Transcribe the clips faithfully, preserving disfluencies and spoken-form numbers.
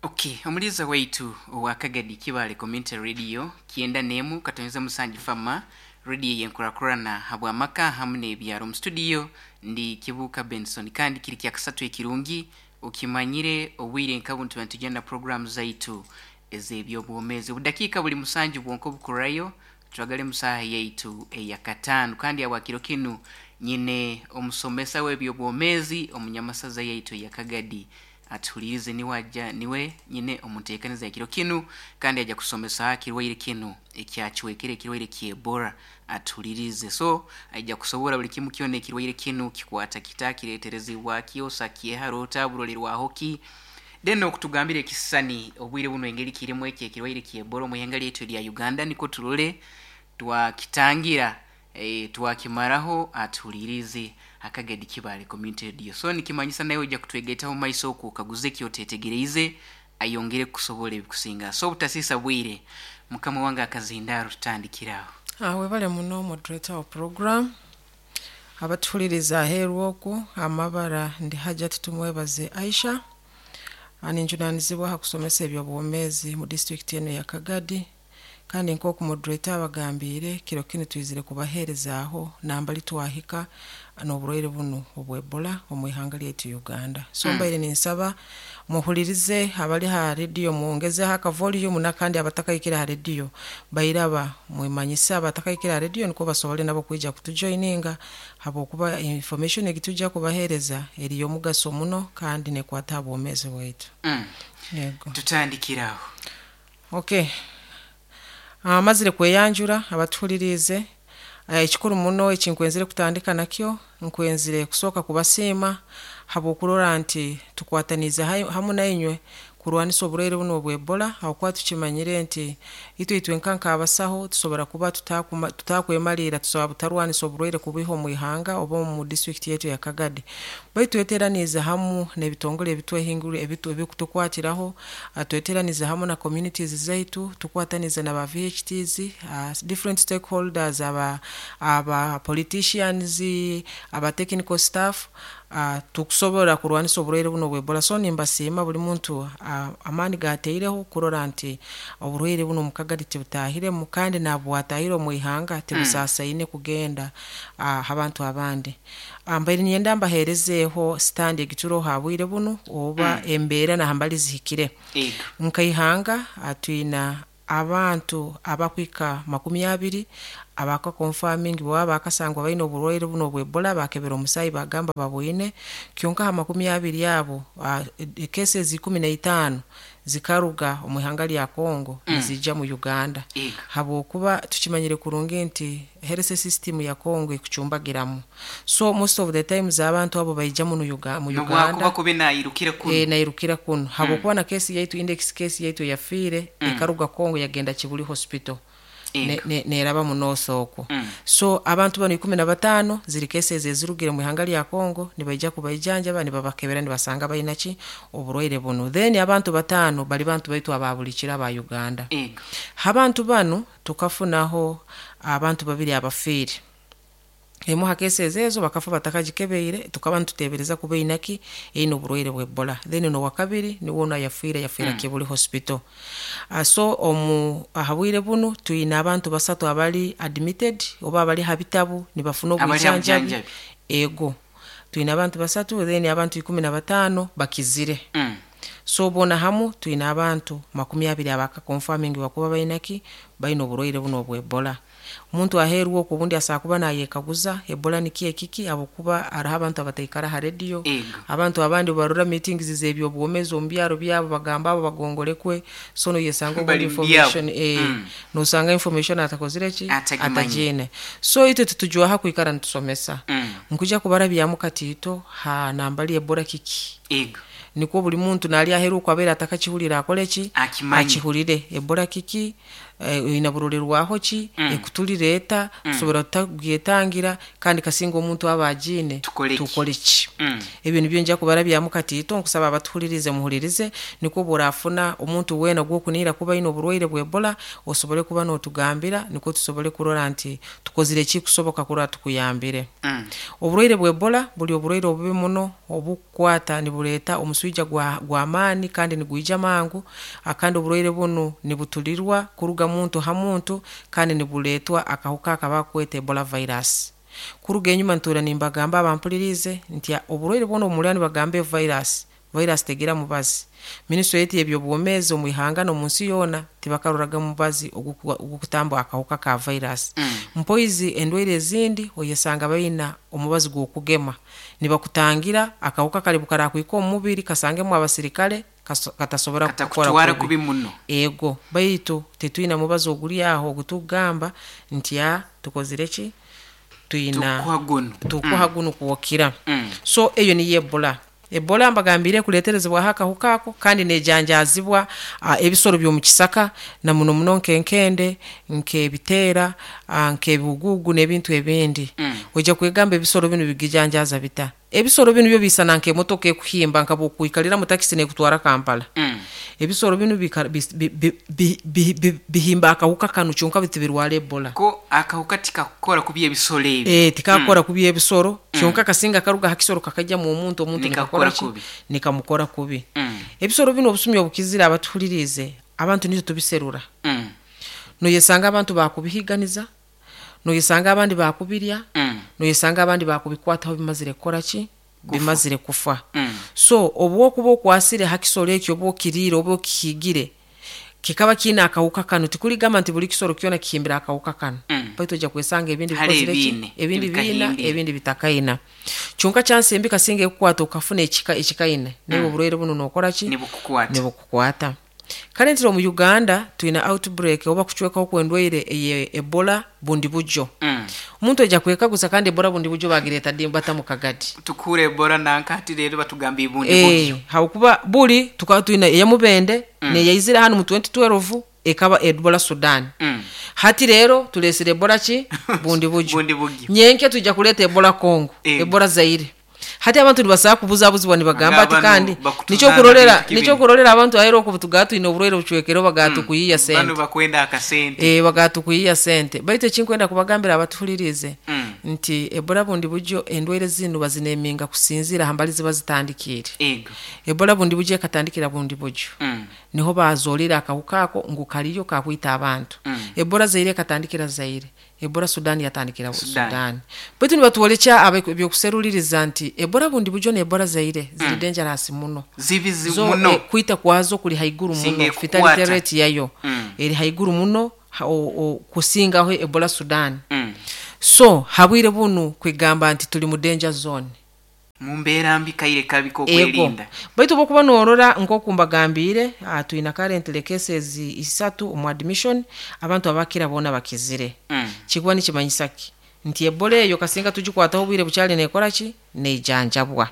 Okay, omuliza waitu owa Kagadi Kibale Community Radio kyenda nemu katoneza musanju fama radio yenkurakurana habwamaka hamu n'ebyaro. Mu studio ndi Kibuka Benson, kandi kiri kya kasatu ekirungi okimanyire obwire nka buntu tugenda program zaitu ez'ebyobwomeezi. Obudakiika buli musanju bwonka obukurayo twagale musaha yaitu eyakataano, kandi awakiro kinu nyine omusomesa w'ebyobwomeezi omunyamasaza yaitu eyakagadi atuhulirize. Niwe aja, niwe nyine omunteekaniza ekiro kinu, kandi aja kusomesa kirwaire kinu ekyacwekere, ekirwaire ky'Ebola. Atuhulirize, so aija kusobora buli kimu kyona, ekirwaire kinu kikwata kita, kireeterezibwa kyosa kyeharota burolerwaho ki, then okutugambira ekisisani obwire buno engeri kirimu ekyo ekirwaire ky'Ebola omu ihanga lyaitu erya Uganda, niko turole twakitangira, e, twakimaraho. Atuhulirize Akagadi Kibale Community Radio. So nikimanyisa nawe ojja kutwegaitaho maiso okwo okaguze ekyotetegereize, ayongere kukusobora ebikusinga. So obutasiisa bwire, mukama wange akazindaaro, tutandikiraho. Ah, webale muno, moderator wa program. Abatuhuliriza aheeru okwo, amabara ndi Hajat Tumwebaze Aisha. Ah, ninjunanizibwa ha kusomesa ebyobwomeezi mu disitulikiti eno ya Kagadi, kandi nk'oku moderator abagambiire, kiro kinu twizire kubaheerezaaho nambali twahika n'oburwaire bunu obw'Ebola omu ihanga lyaitu Uganda. So Mm. mbaire ninsaba muhulirize abali ha rediyo, mwongezeho akavolume, nakandi abatakahikire ha rediyo bairaba mwemanyise abatakahikire ha rediyo nikwo basobole nabo kwija kutujoininga, habwokuba information egitujja kubaheereza eri y'omugaso muno kandi nekwata ha bwomeezi bwaitu. Mm. Yego. Tutandikiraho. Okay, amazire kweyanjura abatuhulirize. Eh, ekikuru muno ekinkwenzire kutandika nakyo, nkwenzire kusooka kubasiima habwokurora nti tukwataniize hai- hamu nainywe kurwanisa oburwaire buno obw'Ebola, habwokuba tukimanyire nti itwe itwenka nk'abasaho tusobora kuba tutakuma- tutakwemaliira, tusobora butarwanisa oburwaire kubiha omu ihanga oba omu disitulikiti yaitu ya Kagadi, baitu tweteraniize hamu n'ebitongole ebitwehingurire ebitu- ebikutukwatiraho, ah, tweteranize hamu na communities zaitu, tukwatanize na ba V H Ts, uh, different stakeholders, aba, aba politicians, aba technical staff, uh, tukusobola kurwanisa oburwaire buno obw'Ebola. So nimbasiima buli muntu uh, amaani gateireho kurora nti oburwaire buno mukagadi tibutahiremu, kandi nabwatahire omu ihanga tibusasaine kugenda uh, abantu abandi. Ah, mbaire ninyenda mbaheerezeeho stand egituroho ha bwire bunu oba embeera nahambali zihikire. Ego. Nkaihanga ah, twina abantu abakwika makumi abiri abaka confirming baba bakasangwa baine oburwaire buno obw'Ebola, bakebera omusaayi bagamba babwine. Kyonka ha makumi abiri abo, uh, cases ikumi na itaano zikaruga omu ihanga lya Congo Mm. nizija mu Uganda, Ego. habwokuba tukimanyire kurungi nti health system ya Congo ekucumbagiramu, so most of the times abantu abo baija muno Uga- mu nobwakuba Uganda. kube nayirukira kuno. E, nairukira kuno, habwokuba na kesi yaitu, index case yaitu yafiire Mm. ekaruga Congo yagenda Kibuli Hospital, ne- Ego. ne- neraba mu north okwo. Mm. So abantu bano ikumi na bataano ziri cases ezirugire mu ihanga lya Congo, nibaija kubaijanjaba, nibabakebera, nibasanga bainaki oburwaire buno. Then abantu bataano bali bantu baitu ababulikira aba Uganda. Ego. Abantu bano tukafunaho abantu babiri abafiire. Emu ha cases ezo bakafa batakagikebeire, tukaba nitutebereza kuba einaki eine oburwaire bwa Ebola. Then nowakabiri niwe ono yafiire, yafiira Mm. Kibuli Hospital. uh, so omu ahabwire bunu twine abantu basatu abali admitted oba abali ha bitabu nibafuna Abali ha obwijanjabi. bujanjabi. Ego, twine abantu basatu, then abantu ikumi na bataano bakizire. Mm. So bona hamu twine abantu makumi abiri abaka confirming bakuba bainaki baine oburwaire buno obw'Ebola. Omuntu aheeru okwo obundi asobola kuba nayekaguza Ebola niki ekiki, habwokuba hariho abantu abataikara ha rediyo. Ego. Abantu abandi barora meetings z'ebyobwomeezi omu byaro byabo, bagamba abo bagongolekwe, so noyesanga obundi Bali mu byabo. information, eh, Mm. nosanga information atakozire ki, Atagimanyi. atagiine. So itwe tutujwaha kwikara nitusomesa. Mm. Nkuja kubarabyamu katiito ha nambali Ebola kiki, Ego. nikwo buli muntu nali aheru okwo abeera atakakihulira akole ki? Akimanye. Akihulire Ebola kiki. eh, oyina burolerwaho ki, Mm. ekutulireeta, tusobora tuta kugyetangira, kandi kasinga omuntu aba agiine Tukole ki? tukole ki? Mm. Ebyo nibyo nja kubarabyamu katiito. Nkusaba abatuhulirize muhulirize, nikwo bworafuna omuntu weena gwokuniira kuba aine oburwaire bwa Ebola, osobole kuba notugambira, nikwo tusobole kurora nti tukozire ekikusoboka kurora tukuyambire. Mm. Oburwaire bwa Ebola buli oburwaire obubi muno obukukwata nibureeta omuswija gwa gw'amaani kandi nigwija mangu. Ah, kandi oburwaire bunu nibutulirwa kuruga muntu ha muntu, kandi nibuleetwa akahuka akabakweta Ebola virus. Kuruga enyuma ntuura nimbagamba abampulirize nti oburwaire bwona obumurira nibagamba evirus, virus tegira mubazi. Minisitule yetu y'ebyobwomeezi omu ihanga n'omu nsi yoona tibakaroraga mubazi oguku- ogukutamba akahuka ka virus. Mm. Mpoizi endwaire ezindi oyesanga baina omubazi gw'okugema, nibakutangira akahuka kali bukarakwika omu mubiri kasangemu abasirikale kaso- katasobora kukora katakutwara kubi. Kubi muno. Ego, baitu tetwina mubazi oguri aho ogutugamba nti a tukozire ki, twina tukuha guno. Tukuha guno kuwokira. Mm. So eyo niyo Ebola. Ebola mbagambire kuleterezebwaho akahuka ako, kandi nejanjazibwa uh, ebisoro by'omu kisaka, na muno muno nk'enkende, nk'ebiteera, uh, nk'ebihugugu n'ebintu ebindi. Mm. Ojja kwegamba ebisoro binu bigijanjaza bita? Ebisoro binu byo bisana nk'emotoka ekuhimba, nka bwokwikalira mu takisi nekutwara Kampala. Mm. Ebisoro binu bika- bis- bi- bi- bi- bi- bi- bihimba akahuka kanu, kyonka bitibirwara Ebola. Ko akahuka tikakukora kubi ebisoro ebi? Eh, tikakora kubi ebisoro, kyonka kasinga karuga ha kisoro kakajya mu muntu, omuntu Nikakukora nikakora ki? Kubi. Nikamukora kubi. Mm. Ebisoro bino obusumi obukizire, abatuhulirize, abantu nitwe tubiserura. Mm. Noyesanga abantu bakubihiganiza, noyesanga abandi bakubirya, Mm. noyesanga abandi bakubikwataho bimazire kukora ki? Bimazire kufa. Mm. So obwokuba okwasire ha kisoro ekyo, oba okiriire oba okihigire, kikaba kiine akawuka kano. Tikuligamba nti buli kisoro kyona kihimbira akawuka kano. Mm. Baitu ojja kwesanga ebindi Hali bikozire ki? ebiine, ebindi biina, ebikahimbire. Ebindi bitakaina. Kyonka kyansi embi kasinga ekukwata okafuna ekika ekikaine, naye oburwaire buno nokora ki? Nibukukwata. Nibukukwata. Kale ntira omu Uganda twina outbreak oba kucwekaho kwendwaire eye Ebola bundi bujjo. Mm. Omuntu ajja kwekaguza, kandi Ebola bundi bujjo bagireeta ddi bata mu Kagadi? Tukure Ebola nankati, rero batugamba ibundi Eh, bubyo. Habwokuba buli tukaba twina eyamubende mm. neyaizire hanu mu twenty twelve, ekaba Ebola Sudan. Mm. Hati rero tulesire Ebola ki? Bundi bujjo. Bundi bugyo. Nyenke tujja kuleeta Ebola Congo, Eh. Ebola Zaire. Hati abantu nibasaba kubuzabuzibwa, nibagamba ati Nga bano kandi bakutuzana nikyo kurorera bintu kibiri. Nikyo kurorera abantu ahera okubu tugaa twine oburwaire bucwekere, bagatukuyiya Bano sente. bakwenda akasente. Eh, bagatukuyiya sente. Baitu ekinkwenda kubagambira abatuhulirize Mm. nti Ebola bundi bujjo, endwaire zinu bazineminga kusinziira hambali ziba zitandikiire. Ego. Ebola bundi bujjo ekatandikira bundi bujjo, Mm. niho bazolera akahuka ako ngu kaliyo kakwita abantu. Mm. Ebola Zaire ekatandikira Zaire, Ebola Sudani yatandikira Sudan. Sudani. Baitu nibatwolekya abe- ebyokuseruliriza nti Ebola bundi bujjo ne Ebola Zaire ziri dangerous muno. Zibi zi Zo, muno. eh, kwita kwazo kuli haiguru Singa muno. ekukwata. Fatality rate yayo Mm. eri haiguru muno ha- o- o- kusingaho Ebola Sudan. Mm. So habwire bunu kwegamba nti tuli mu danger zone. Mu mbeera mbi, kaire kabi Ego. kokwerinda. Baitu bwokuba norora nkoku mbagambire, uh, twina currently cases isatu omu admission, abantu abakira boona bakizire. Mm. Kikuba nikimanyisa ki? Nti Ebola eyo kasinga tugikwataho obwire bukyali, nekora ki? Nejanjabwa.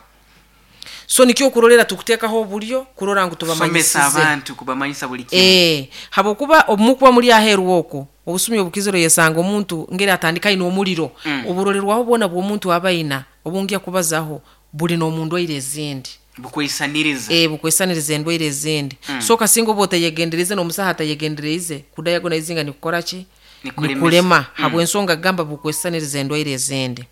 So nikyo okurorera tukuteekaho obulyo kurora ngu Kusomesa tubamanyisize abantu, kubamanyisa buli kimu. Eh, habwokuba obumukuba muri aheeru okwo, obusumi obukiziro yesanga omuntu ngeri atandika aine omuliro. Mm. Oburolerwaho bwona bw'omuntu aba aina obungya kubazaho buli n'omu ndwaire ezindi. Bukwisaniriza. Eh, bukwesaniriza endwaire ezindi. Mm. So kasinga oba otayegendereze, n'omusaha atayegendereize, kudayagonaizinga nikukora ki? Nikulemesa. Nikulema. Mm. Habwensonga gamba bukwesaniriza endwaire ezindi.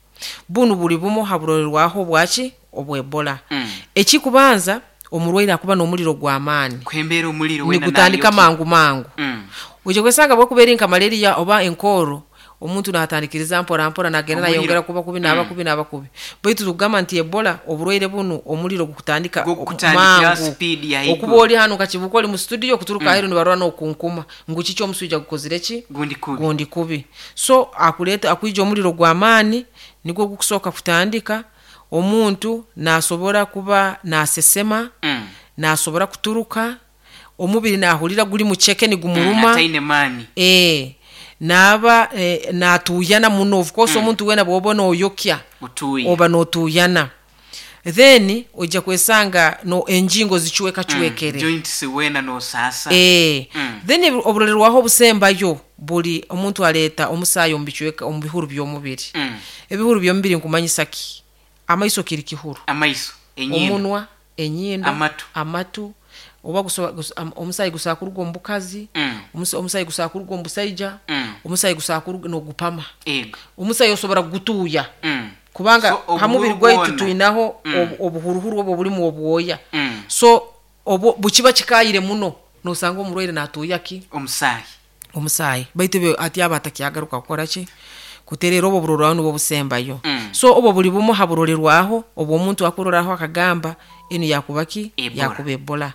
Bunu buli bumu haburolerwaho bwaki? Obwebola. Mm. Ekikubanza, omurwaire akuba n'omuliro gw'amaani. Kwembeera omuliro wena. Nigutandika Nayoki. mangu mangu. Mm. Ojja kwesanga bwekuba eri nka malaria oba enkooro, omuntu natandikiriza mpora mpora, nagenda Omuliro. nayongera kuba kubi, naba Mm. kubi, naba kubi. Baitu tugamba nti Ebola oburwaire bunu omuliro gukutandika Gukutandikira mangu. speed ya haiguru. Okuba oli hano kakibuka oli mu studio, kuturuka mm. aheru nibarora nokunkuma ngu kiki omuswija gukozire ki? Gundi kubi. Gundi kubi. So akuleta akwija omuliro gw'amaani, nigwo gukusooka kutandika. Omuntu nasobora kuba nasesema, Mm. nasobora kuturuka, omubiri nahulira guli muceke, nigumuruma. Mm, ataine maani. Eh, naaba eh, natuyana muno. Of course, mm. omuntu wena bwoba noyokya utuye. Oba notuyana. Then ojja kwesanga no enjingo zichweka chwekere. Mm. Joints wena nosasa. Eh. Mm. Then oburolerwaho obusembayo buli omuntu aleeta omusaayi omu bicweka omu bihuru by'omubiri. Mm. Ebihuru by'omubiri nkumanyisa ki? Amaiso kiri kihuru. Amaiso, enyindo. Omunwa, enyindo, amatu, amatu. Oba gusoba, gus, am, omusaayi gusobola kuruga omu bukazi, Mm. omusa-, omusaayi gusobola kuruga omu busaija, Mm. omusaayi gusobola kuruga n'ogupama. Ego. Omusaayi osobora kugutuuya. Mm. Kubanga So, obuhuru ha mubiri gwaitu bwona. twinaho Mm. obu-, obuhuruhuru obwo bulimu obwoya. Mm. So obwo bukiba kikayire muno nosanga omurwaire natuuya ki? Omusaayi. Omusaayi. Baitu ebyo ati aba atakyagaruka kukora ki? Kuterera obwo burorwaho nibwo busembayo. Mm. So obwo buli bumu ha burorerwaho obwo omuntu akuroraho akagamba enu yakuba ki? Ebola. Yakuba Ebola.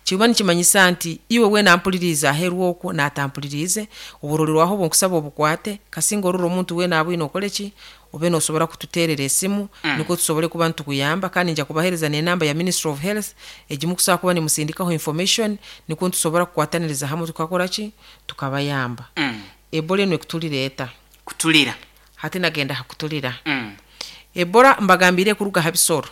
Kiba nikimanyisa nti iwe wena ampulirize aheeru okwo n'atampulirize, oburorerwaho obwo nkusaba obukwate, kasinga orora omuntu wena abwine okole ki? Obe nosobora kututeerera esimu, Mm. nikwo tusobole kuba nitukuyamba, kandi nja kubaheereza n'enamba ya Ministry of Health egimu kusobola kuba nimusindikaho information, nikwo nitusobora kukwataniriza hamwe tukakora ki? Tukabayamba. Mm. Ebola enu ekutulira eta? Kutulira. Hati nagenda hakutulira. Mm. Ebola mbagambire kuruga ha bisoro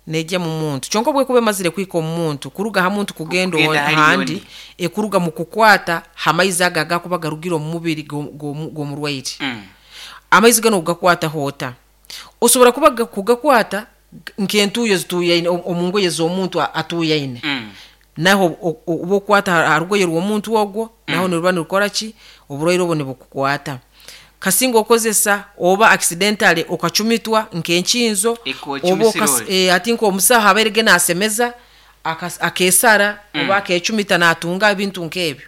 nejja mu muntu. Kyonka bwekuba emazire kwika omu muntu, kuruga ha muntu kugenda Kugenda hali ahandi, yoni. ekuruga mu kukwata ha maizi aga agakuba garugire omu mubiri g'omu-, g'omu-, g'omurwaire. Mm. Amaizi gano ogakwata hota. Osobora kuba ga-, kugakwata nk'entuuyo zituuyaine, omu-, omu ngoye z'omuntu a-, atuuyaine. Mm. Naho o-, o-, oba okwata ha-, ha rugoye rw'omuntu ogwo, Mm. naho niruba nirukora ki? Oburwaire obwo nibukukwata. Kasinga okozesa oba accidentally okacumitwa nk'enkinzo, Eko oba ocumisire okas-, ori. eh, ati nk'omusaho abaire nasemeza, akas-, akesara, Mm. oba akecumita natunga ebintu nk'ebyo.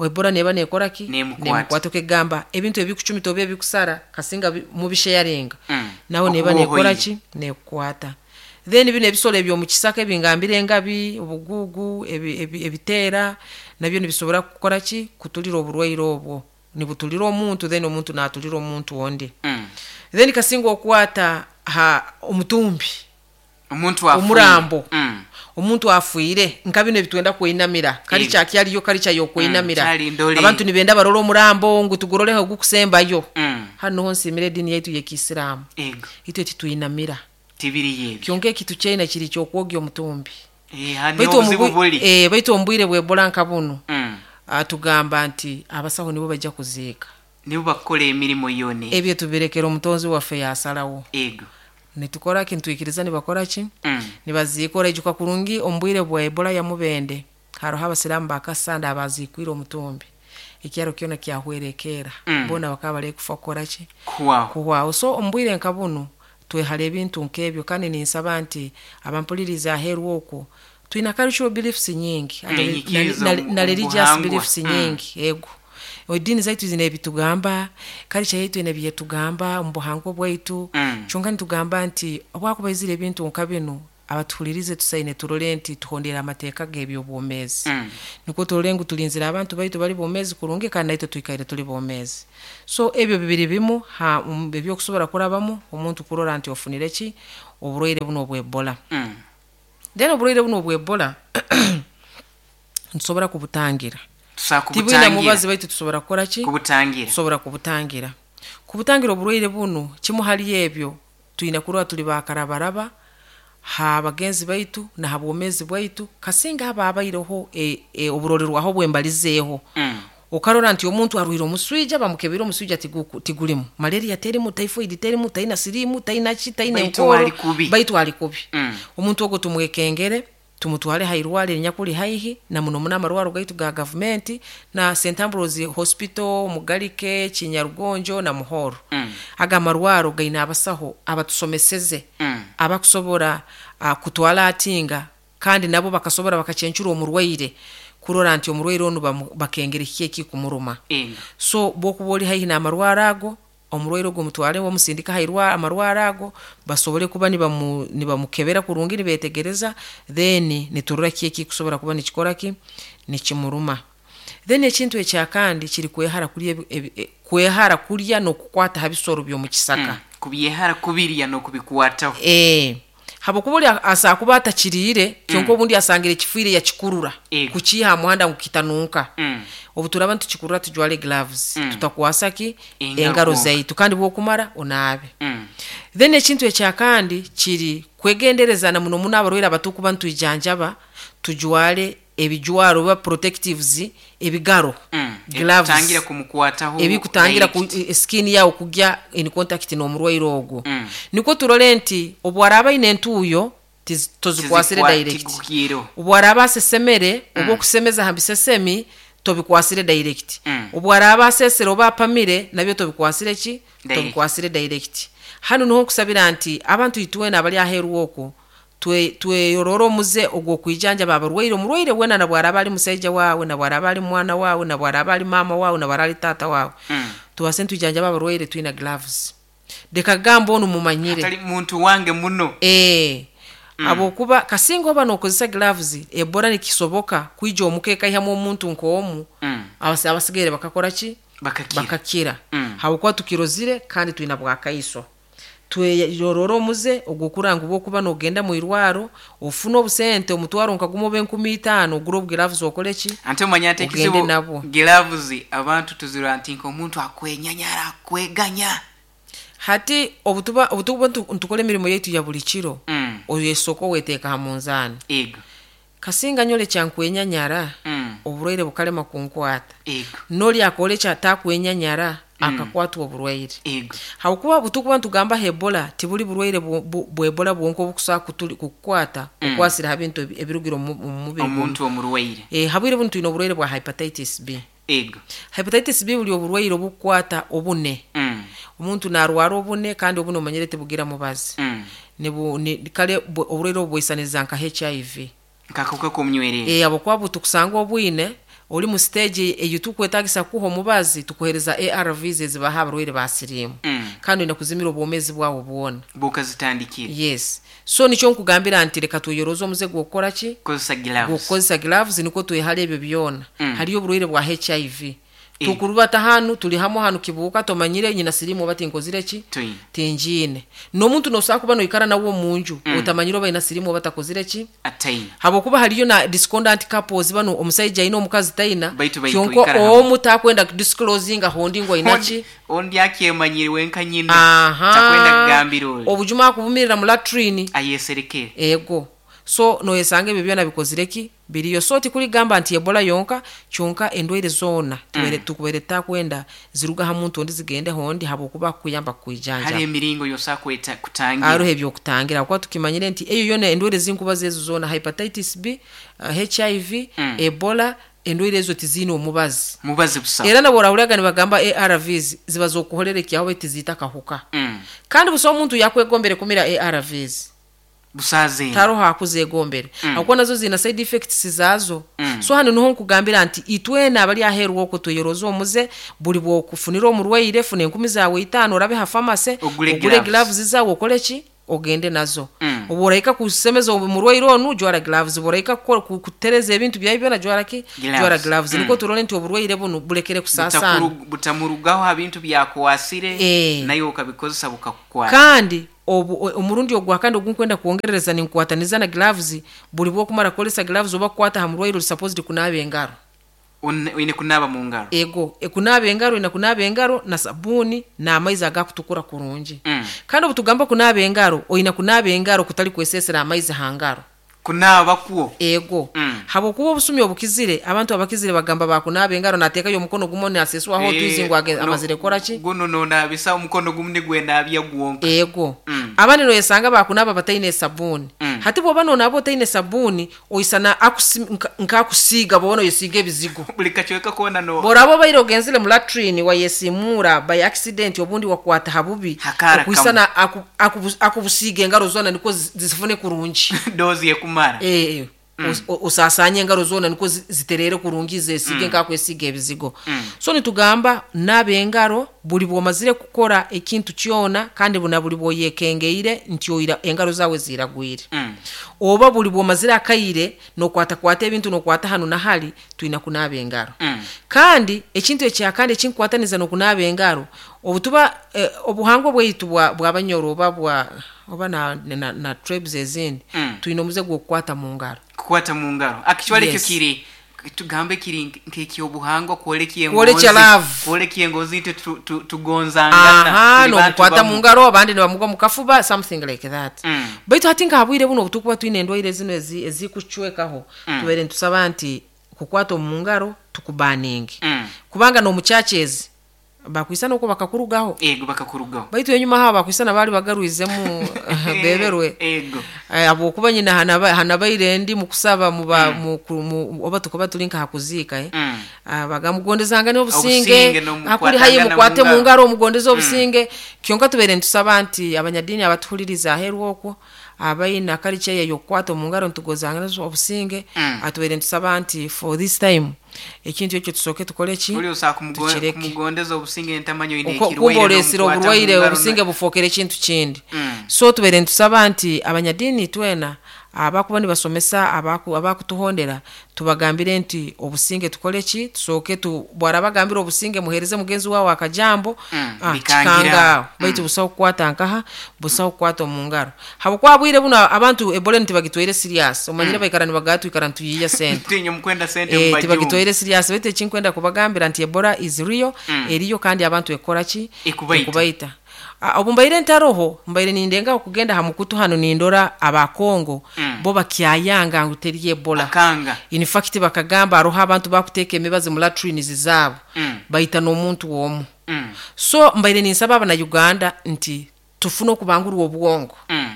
Ebola neba nekora ki? Nemukwata. Nemukwata okegamba ebintu ebikucumita oba ebikusara kasinga bi-, mubisharinga. Mm. Naho neba Okuba nekora ohoire. ki? Nekukwata. Then bino ebisolo ebyo mu kisaka ebingambire engabi, obugugu, ebi-, ebi-, ebiteera, nabyo nibisobora kukora ki? Kutulira oburwaire obwo. Nibutulira omuntu, then omuntu natulira omuntu ondi. Mm. Then kasinga okwata ha omutumbi. Omuntu afuire. Omurambo. Mm. Omuntu afuire nka bino ebitwenda kweinamira. Kali Ego. kya kyaliyo, kali kya yokweinamira. Mm, kyali ndole. Abantu nibenda barora omurambo ngu tuguroreho gukusembayo. Mm. Hano ho nsimire edini yaitu y'Ekisiraamu. Ego. Itwe titwinamira. Tibiri yebyo. Kyonka ekitu kyaina kiri ky'okwogya omutumbi. Eh, hano Baitu obuzibu omu-, buli. eh, baitu omu bwire bw'Ebola nka buno. Mm. Atugamba nti abasaho nibo bajja kuziika. Nibo bakola emirimu yone. Ebyo tubirekera omutonzi waffe yasalawo. Ego. Nitukora ki, nitwikiriza nibakora ki? Mm. Nibaziikora ijuka kurungi omu bwire bwa Ebola ya Mubende. Haroho abasiraamu bakasanda abaziikwire omutumbi. Ekyaro kyona kyahwerekera. Mm. Bona bakaba bari kufa kukora ki? Kuhwaho. Kuhwaho. So omu bwire nka buno twehara ebintu nk'ebyo, kandi ninsaba nti abampuliriza aheeru okwo twina cultural beliefs nyingi, Mm, na, na, nyikirizo na religious obuhangwa. beliefs Mm. nyingi. Ego. Edini zaitu zine ebitugamba, culture yaitu ine ebyetugamba omu buhangwa bwaitu. Mm. Kyonka nitugamba nti obwakubaizire ebintu nka bino abatuhulirize tusaine turole nti tuhondera amateeka g'ebyobwomeezi. Mm. Nikwo turole ngu tulinzire abantu baitu bali bomeezi kurungi kandi naitwe twikaire tuli bomeezi. So ebyo bibiri bimu ha, um, ebyokusobora kurabamu omuntu kurora nti ofunire ki oburwaire buno obw'Ebola. Mm. Then oburwaire buno obw'Ebola nitusobora kubutangira. Tusobola Tibwina kubutangira. mubazi baitu tusobora kukora ki? Kubutangira. Tusobora kubutangira. Kubutangira oburwaire buno kimu hali ebyo twina kurora tuli bakarabaraba ha bagenzi baitu na ha bwomeezi bwaitu, kasinga aba abaireho e, e, oburorerwaho bwembalizeeho. Mm. Okarora nti omuntu arwire omuswija, bamukebera omuswija tigu-, tigulimu. Malaria terimu, typhoid terimu, taina sirimu, taina ki, taina Baitu enkoro. ali kubi. Baitu ali kubi. Mm. Omuntu ogwo tumwekengere, tumutwale hairwale nyakuli haihi na muno muno amarwaro gaitu ga government na Saint Ambrose Hospital, Mugalike, Kinyarugonjo na Muhoro. Mm. Aga marwaro gaina abasaho abatusomeseze, Mm. abakusobora, uh, kutwala atinga kandi nabo bakasobora bakacencura omurwaire kurora nti omurwaire onu bamu-, bakengere kiki ekikumuruma. Ego. So bwokuba oli haihi n'amarwaro ago, omurwaire ogwo mutwale omusindika hairwa amarwaro ago basobole kuba nibamu-, nibamukebera kurungi nibetegereza, then niturora kiki ekikusobora kuba nikikora ki nikimuruma. Then ekintu ekyakandi kiri kwehara kulya ebi-, ebi-, e, kwehara kulya n'okukwata ha bisoro by'omu kisaka. Mm. Kubyehara kubirya n'okubikwataho. Eh. Habwokuba oli asobola kuba atakiriire, kyonka obundi asangire kifiire yakikurura Ego. kukiiha ha muhanda ngu kitanunka. Mm. Obu turaba ntukikurura tujwale gloves, Mm. tutakwasa ki Engaro engaro kwonka. zaitu, kandi bwokumara onaabe. Mm. Then ekintu ekyakandi kiri kwegendereza na muno muno abarwaire abatukuba ntwijanjaba, tujwale ebijwaro oba protectives ebigaro, Mm. gloves, ebikutangira kumukwataho ebikutangira ku, direct. e- skin yawe kugya in contact n'omurwaire ogwo. Mm. Nikwo turole nti obu araaba aine entuuyo tiz- tozikwasire Tizikwa- direct. Tigukiireho. Obu araaba asesemere oba okusemeza ha bisesemi tobikwasire direct. Mm. Obu araaba asesere oba apamire nabyo tobikwasire ki? Direct. Tobikwasire direct. Hanu niho nkusabira nti abantu itwena abali aheeru okwo twe- tweyorore omuze ogw'okwijanjaba abarwaire. Omurwaire weena na bwaraaba ali musaija waawe, na bwaraaba ali mwana waawe, na bwaraaba ali maama waawe, na bwaraaba ali taata waawe, Mm. tubase ntwijanjaba abarwaire twina gloves. Leka gamba onu mumanyire Atali muntu wange muno. ee habwokuba kasinga oba nokozesa gloves, Ebola nikisoboka kwija omuka ekaihamu omuntu nk'omu, Mm. abasi- abasigaire bakakora ki? Bakakira. Bakakira. Mm. Habwokuba tukirozire kandi twina bwakaiso. Tweyorora omuze ogw'okuranga obwokuba nogenda mu irwaro ofune obusente omutwaro nka gumu oba enkumi itaano ogure obugloves okole ki? Ante omanya nti Ogende ekizibu nabwo. Gloves abantu tuzirwa nti nk'omuntu akwenyanyara akweganya. Hati obutuba obutuba ntu- ntukora emirimo yaitu ya buli kiro, Mm. oyesooka oweteeka ha munzaani. Ego. Kasinga nyole kyankwenyanyara, Mm. oburwaire bukalema kunkwata. Ego. Noli akora ekyo atakwenyanyara akakwatwa oburwaire. Ego. Habwokuba butukuba ntugamba Ebola tibuli burwaire bu- bu- bwa Ebola bwonka obukusobola kutuli- kukukwata okwasira ha bintu ebi- ebirugire omu omu mubiri gw'omuntu. Omuntu omurwaire. Eh, habwire bunu twine oburwaire bwa hepatitis B. Ego. Hepatitis B buli oburwaire obukukwata obune. Mm. Omuntu narwara obune, kandi obune omanyire tibugira mubazi. Mm. Nibu- ni- kale bu- oburwaire obu bwisaniriza nka H I V. Nk'akahuka k'omunywerere. Eh, habwokuba butukusanga obwine oli mu stage eyo tukwetagisa kuha omubazi, tukuhereza A R Vs ezibaha abarwaire ba siriimu. Mm. Kandi oyina kuzimira obwomeezi bwawe bwona. Bukazitandikira. Yes. So nikyo nkugambira nti leka tweyoroze omuze gw'okukora ki? Kukozesa gloves. Gw'okukozesa gloves nikwo twehale ebyo byona. Mm. Hariyo oburwaire bwa H I V. Eh. Tukurubata hanu tuli hamwe hanu kibuuka tomanyire nyina siriimu oba tinkozire ki? Twine. Tinjiine. N'omuntu nosobola kuba noikara nawe omunju, Mm. otamanyire oba ayina siriimu oba takozire ki? Ataina. Habwokuba hariyo na discordant couples bano, omusaija ayina omukazi taina, Baitu baitu kyonka ikara hamwe. omu takwenda disclosinga hondi ngu ayina ki? Ondi akyemanyire wenka nyina. Aha. Takwenda kugambira oli. Obujuma akubumirira mu latrine. Ayeserekere. Ego. So noyesanga ebyo byona bikozire ki? Biriyo. So tikuligamba nti Ebola yonka, kyonka endwaire zoona tuwere, Mm. tukuwere takwenda ziruga ha muntu ondi zigende hondi habwokuba kuyamba kwijanja. Hari emiringo yosa kweta kutangira. Hariho ebyokutangira kuba tukimanyire nti eyo yona endwaire zinkuba zezo zoona, hepatitis B, uh, H I V, Mm. Ebola, endwaire ezo tiziine omubazi. Mubazi busa. Era nabo orahuriraga nibagamba A R Vs ziba z'okuhorera ekyaho baitu tiziita kahuka. Mm. Kandi busa omuntu yakwegombere kumira A R Vs. Busaze. Taroho akuzegombere. Mm. Akuba nazo zina side effects zazo. Mm. So hano niho nkugambira nti itwena abali aheru okwo tweyoroza omuze buli bwokufunira omurwaire funa enkumi zawe itaano orabe ha pharmacy, Ogule ogule gloves. gloves zawe okole ki? Ogende nazo. Mm. Obu oraika kusemeza omurwaire onu jwara gloves, obu oraika kukora, ku-, kutereza ebintu byawe byona jwara ki? Gloves. Jwara gloves. Mm. Niko turole nti oburwaire bunu bulekere kusasana. Butakuru-, butamurugaho ha bintu byakwasire, Eh. nayo okabikozesa bukakukwata. Kandi obu, o-, omurundi ogwa kandi ogunkwenda kwongerereza ninkwataniza na gloves, buli bwokumara kukozesa gloves oba kukwata ha murwaire ori supposed kunaaba engaro. One-, oine kunaaba mu ngaro. Ego, e, kunaaba engaro, oine kunaaba engaro na sabuuni n'amaizi agakutukura kurungi. Mm. Kandi obu tugamba kunaaba engaro, oine kunaaba engaro kutali kwesesera amaizi ha ngaro. Kunaaba kwo. Ego. Mm. Habwokuba obusumi obukizire, abantu abakizire bagamba bakunaaba engaro nateekayo omukono gumu naseswaho Eh, otwizi ngu age-, no, amazire kukora ki? Guno nonaabisa omukono gumu nigwe naabya gwonka. Ego. Mm. Abandi noyesanga bakunaaba bataine sabuuni. Mm. Hati bw'oba nonaaba otaine sabuuni, oisana akusi-, nka-, nkakusiiga bw'oba noyesiiga ebizigo. Buli kacweka koona no- Bw'oraba obaire ogenzire mu latrine wayesimura by accident obundi wakwata ha bubi, Hakara okuisana kamwe. aku-, aku-, akubusiiga engaro zoona nikwo zi-, zifune kurungi. Dozi yekumara. Eh, Mm. os-, o-, osasanye engaro zoona nikwo zi-, ziterere kurungi zesige Mm. nkakwesiga ebizigo. Mm. So nitugamba naaba engaro buli bwomazire kukora ekintu kyona, kandi buna buli bwoyekengeire nti oira engaro zawe ziragwire. Mm. Oba buli bwomazire akaire nokwata kwata ebintu nokwata hanu na hali, twina kunaaba engaro. Mm. Kandi ekintu ekyakandi ekinkwataniza nokunaaba engaro, Obutuba eh, obuhangwa bwaitu bwa bw'abanyoro oba bwa oba na, na, na tribes ezindi, Mm. twine omuze gw'okukwata mu ngaro. Kukwata mu ngaro actually ekyo Yes. kiri, tugambe kiri nk'ekyobuhangwa kwoleka Kwolekya love. Kwoleka engozi nti tu- tu- tugonzangana, Aha, tuli bantu nomukwata bamu. mu ngaro, abandi nibamugwa mu kafuba, something like that. Mm. Baitu hati nkahabwire buno obutukuba twine endwaire zino ezi- ezikucwekaho, Mm. tubaire nitusaba nti kukwata omu ngaro tukubaninge, Mm. kubanga n'omukyaki bakwisana okwo bakakurugaho. Ego, bakakurugaho. Baitu enyuma habo bakwisana baali bagarwizemu beberwe. Ego. Eh, habwokuba nyina hanaba- hanabaire ndi mukusaba muba mu, mu, oba tukuba tuli nka hakuziika, eh? Mm. Ah, bagamugondezanga n'obusinge. Obusinge n'omukwatangana Hakuli hayi mukwate mu mu ngaro. ngaro omugondeze obusinge. Kyonka tubaire nitusaba nti abanyadiini abatuhuliriza aheeru okwo abaine akarica eyo y'okukwata omu ngaro nitugozangana obusinge, Mm. atubaire nitusaba nti for this time ekintu ekyo tusooke tukole ki? Uli osobola kumugo- Tukireke. Kumugondeza obusinge ntamanyi oyine Uko- ekirwaire kumba oleesire n'omukwata mu oburwaire, ngaro. obusinge bufookere ekintu kindi. Mm. So tubaire nitusaba nti abanyadiini twena abakuba nibasomesa abaku- abakutuhondera tubagambire nti obusinge tukole ki? Tusooke tu bwarabagambira obusinge, muhereze mugenzi wawe akajambo. Mm, ah, bikangira. Kikanga baitu busaho kukwata nkaha, busaho kukwata omu ngaro, habwokuba bwire buno abantu ebola ntibagitwaire serious. Omanyire baikara nibagaa twikara nituyiya sente. Tinye mukwenda sente Eh, mubajungu. Tibagitwaire serious, baitu ekinkwenda kubagambira nti ebola is real. Mm. Eriyo kandi abantu ekora ki? Ekubaita. Ekubaita. Ah, obu mbaire ntaroho, mbaire nindengaho kugenda ha mukutu hano nindora abakongo, Mm. bo bakyayanga ngu teri ebola. Akanga. In fact bakagamba aroho abantu bakuteeka emibazi mu latrines zaabo, Mm. baita n'omuntu omu. Mm. So mbaire ninsaba abanauganda nti tufune okubangurwa obwongo. Mm.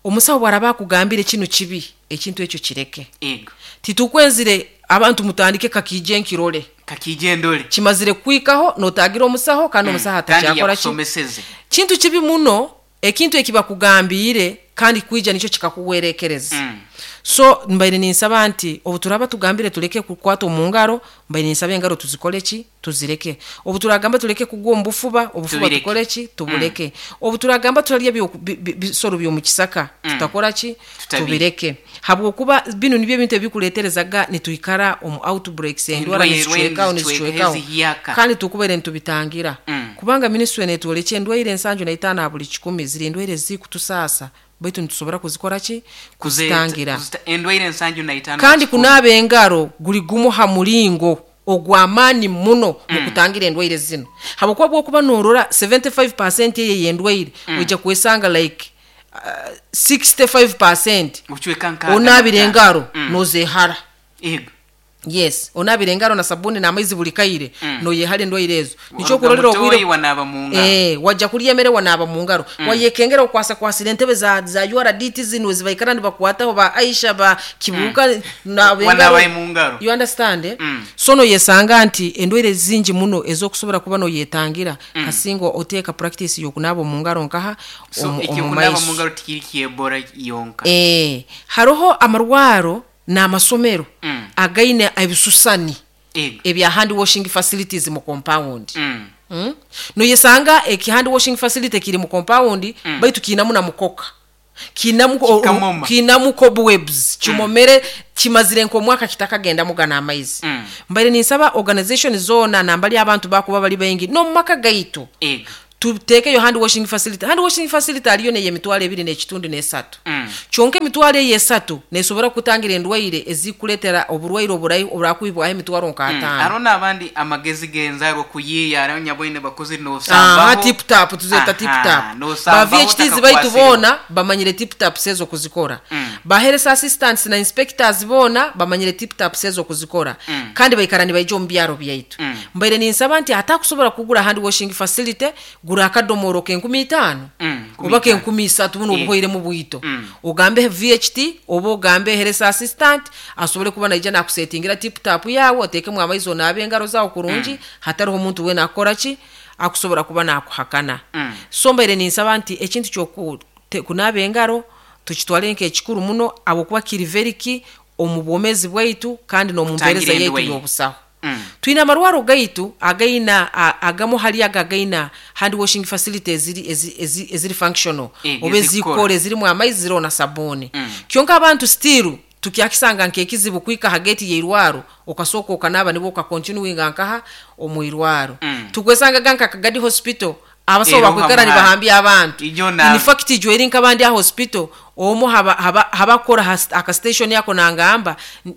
Omusawo bwaraba akugambire kino kibi, ekintu ekyo kireke. Ego. Titukwenzire abantu mutandike kakije nkirole. Kakije ndole. Kimazire kwikaho notagira omusaho kandi omusaho Kandi atakyakora ki? Yakusomeseze. Kintu kibi muno ekintu ekibakugambiire kandi kwija nikyo kikakuwerekereza. Mm. So mbaire ninsaba nti obu turaba tugambire tuleke kukwata omu ngaro, mbaire ninsaba engaro tuzikole ki? Tuzireke. Obu turagamba tuleke kugwa omu bufuba, obufuba Tubireke. tukole ki? Tubuleke. Obu turagamba turarya byo- bi- bi- bisoro by'omu kisaka, tutakora ki? Tutabireke. Tubireke, habwokuba bino nibyo ebintu ebikuleeterezaga nitwikara omu outbreaks, endwara Endwaire nizicwekaho, nizicweka, nizicwekaho ezihiyaka. Kandi tukubaire nitubitangira, Mm. kubanga minisitule netwolekya endwaire ensanju na itaano ha buli kikumi ziri endwaire zikutusaasa, baitu nitusobora kuzikora ki? Kuzitangira. Kuzita- endwaire ensanju na itaano Kandi ku kikumi. kunaaba engaro guli gumu ha mulingo ogw'amaani muno mu kutangira endwaire zino, habwokuba bwokuba norora seventy-five eyo ey'endwaire, ojja kwesanga like uh, sixty-five Obucweka nkaaga onaabira na engaro Mm. nozeehara. Ego. Yes, onaabira engaro na sabuni n'amaizi buli kaire, Mm. noyehara endwaire ezo. Nikyo Waruga okurorera mutoyi, obwire wanaaba mu ngaro. Eh, wajja kurya emere wanaaba mu ngaro, wayekengera okwasakwasira entebe za, za U R D T zino ezibaikara nibakwataho ba Aisha ba Kibuuka naaba Wanaaba engaro. mu ngaro. You understand, eh? Mm. So noyesanga nti endwaire zingi muno ezokusobora kuba noyetangira kasinga oteeka practice y'okunaaba omu ngaro nkaha So omu- ekyo omu kunaaba maiso. mu ngaro tikiri kyebora yonka. Eh, haroho amarwaro n'amasomero Mm. againe ebisusani Ego. ebya hand washing facilities mu compound. Mm. Mm? Noyesanga eki hand washing facility kiri mu compound, mm. baitu kiinamu na mukoka, kiinamu Kikamoma. kiinamu cobwebs, kimomere, kimazire nk'omwaka kitakagendamu gana amaizi. Mm. Mbaire ninsaba organization zoona nambali abantu bakuba bali baingi n'omu maka gaitu, Ego. tuteekeyo hand washing facility. Hand washing facility aliyo neye emitwalo ebiri n'ekitundu n'esatu. Mm. Kyonka emitwalo eyo esatu nesobora kutangira endwaire ezikuleetera oburwaire oburayi oburakwibwaho emitwalo nk'ataano. Hariho n'abandi amagezi g'enzarwa kuyiiya hariho nyaboine bakozi Aha, nosambaho. Tip tap, tuzeta tip tap. Ba V H Ts baitu boona bamanyire tip taps ezo kuzikora. Mm. Ba health assistants na inspectors boona bamanyire tip taps ezo kuzikora, Mm. kandi baikara nibaija omu byaro byaitu. Mm. Mbaire ninsaba nti atakusobora kugura hand washing facility, gura akadomoro k'enkumi itaano Mm, oba k'enkumi isatu buno Yeah. obuhoiremu bwito, Mm. ogambe V H T oba ogambe health assistant asobole kuba naija nakusetingira tip tap yawe, oteekemu amaizi onaabe engaro zawe kurungi, hatariho omuntu weena akukora ki, akusobora kuba nakuhakana. Mm. So mbaire ninsaba nti ekintu kyoku te- kunaaba engaro tukitwale nk'ekikuru muno, habwokuba kiri very key omu bwomeezi bwaitu kandi n'omu mpeereza Kutangira yaitu endwaire. y'obusaho. Mm. Twine amarwaro gaitu againa a- agamu hali ago againa hand washing facility eziri, ezi- ezi- eziri functional, Eh, oba ezikora. ezikora, ezirimu amaizi, ziriho na sabuuni. Mm. Kyonka abantu still tukyakisanga nk'ekizibu kwika ha gate y'eirwaro okasooka okanaaba nibwo okakontinuinga nkaha omu irwaro. Mm. Tukwesangaga nka Kagadi Hospital, Abasawo Era bakwikara oha nibahambya abantu. Ijo na- In fact, ijweri nk'abandi a hospital omu haba haba habakora has- aka station yako nangamba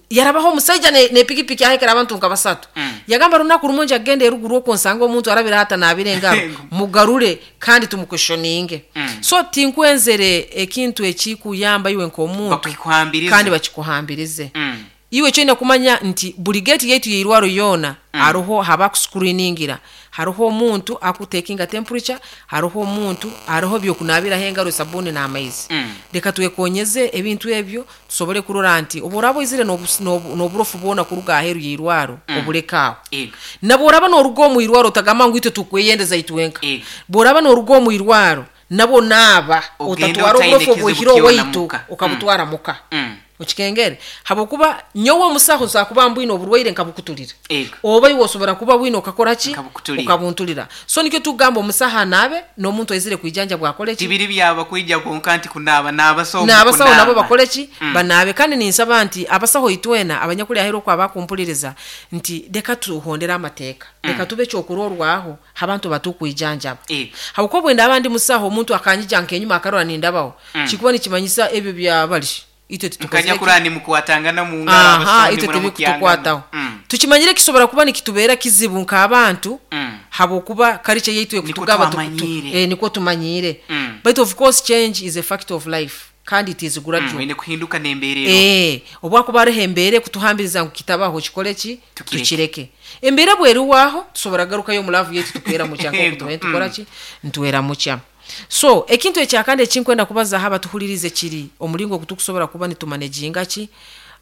yarabaho omusaija ne, ne pikipiki ahekera abantu nka basatu. Mm. Yagamba runaku rumu nja kugenda eruguru okwo nsanga omuntu arabira hata naabira engaro, mugarure kandi tumuquestioninge. Mm. So tinkwenzere ekintu ekikuyamba iwe nk'omuntu Bakikuhambirize. kandi bakikuhambirize. Mm. Iwe kyoina kumanya nti buli gate yaitu yeirwaro yoona hariho habakuscreeningira, hariho omuntu akutekinga temperature, hariho omuntu, hariho byokunabiraho engaro, sabuni n'amaizi. Mm. Reka twekonyeze ebintu ebyo tusobole kurora nti obu oraba oizire n'obu- n'obu- n'oburofu bwona kuruga aheeru yeirwaro, obuleke aho. Ego. Nabwo oraba n'oruga omu irwaro, otagamba ngu itwe tukweyendeza itwenka. Ego. Bw'oraba n'oruga omu irwaro, nabwo naaba Ogende otatwara otaine oburofu kizibu obwihire kyona owaitu muka. okabutwara muka. Mm. Okikengere habwokuba nyowe omusaho nsobola kuba mbwine oburwaire nkabukutulira, Ego. oba iwe osobora kuba bwine okakora ki? Nkabukuturira. Okabuntulira. So nikyo tugamba omusaho anaabe n'omuntu aizire kwijanja bwakole ki? Tibiri byaba kwija konka nti kunaaba n'abasawo. N'abasawo mukunaaba. nabo bakole ki? Mm. Banaabe. Kandi ninsaba nti abasaho itwena abanyakuli aheru okwo abakumpuliriza nti leka tuhondere amateeka, leka tube ekyokurorwaho abantu batukwijanjaba. Ego. Habwokuba bwenda abandi musaho omuntu akanyija nkenyuma akarora nindabaho, kikuba nikimanyisa ebyo byabali itwe titukozire Nkanya ki? kurani mukwatangana mu ngaro, Aha, abasawo itwe nimura tebikutukwataho. mukyangana. Mm. Tukimanyire kisobora kuba nikitubeera kizibu nk'abantu, Mm. habwokuba karice yaitu ekutugaba tu- tu- Twamanyiire. eh, niko tumanyiire. Mm. But of course change is a fact of life kandi it is gradual. Mm, ine kuhinduka n'embeera. Eh, obwakuba hariho embeera ekutuhambiriza ngu kitabaho, kikole ki? Tukireke. Tukireke. Embeera bweriwaho tusobora garukayo omu laavu yaitu tukwera mukya Ego, nkoku tubaire tukora mm. ki ntwera mukya. So ekintu ekyakandi ekinkwenda kubazaho abatuhulirize kiri omulingo ogu tukusobora kuba nitumanaginga ki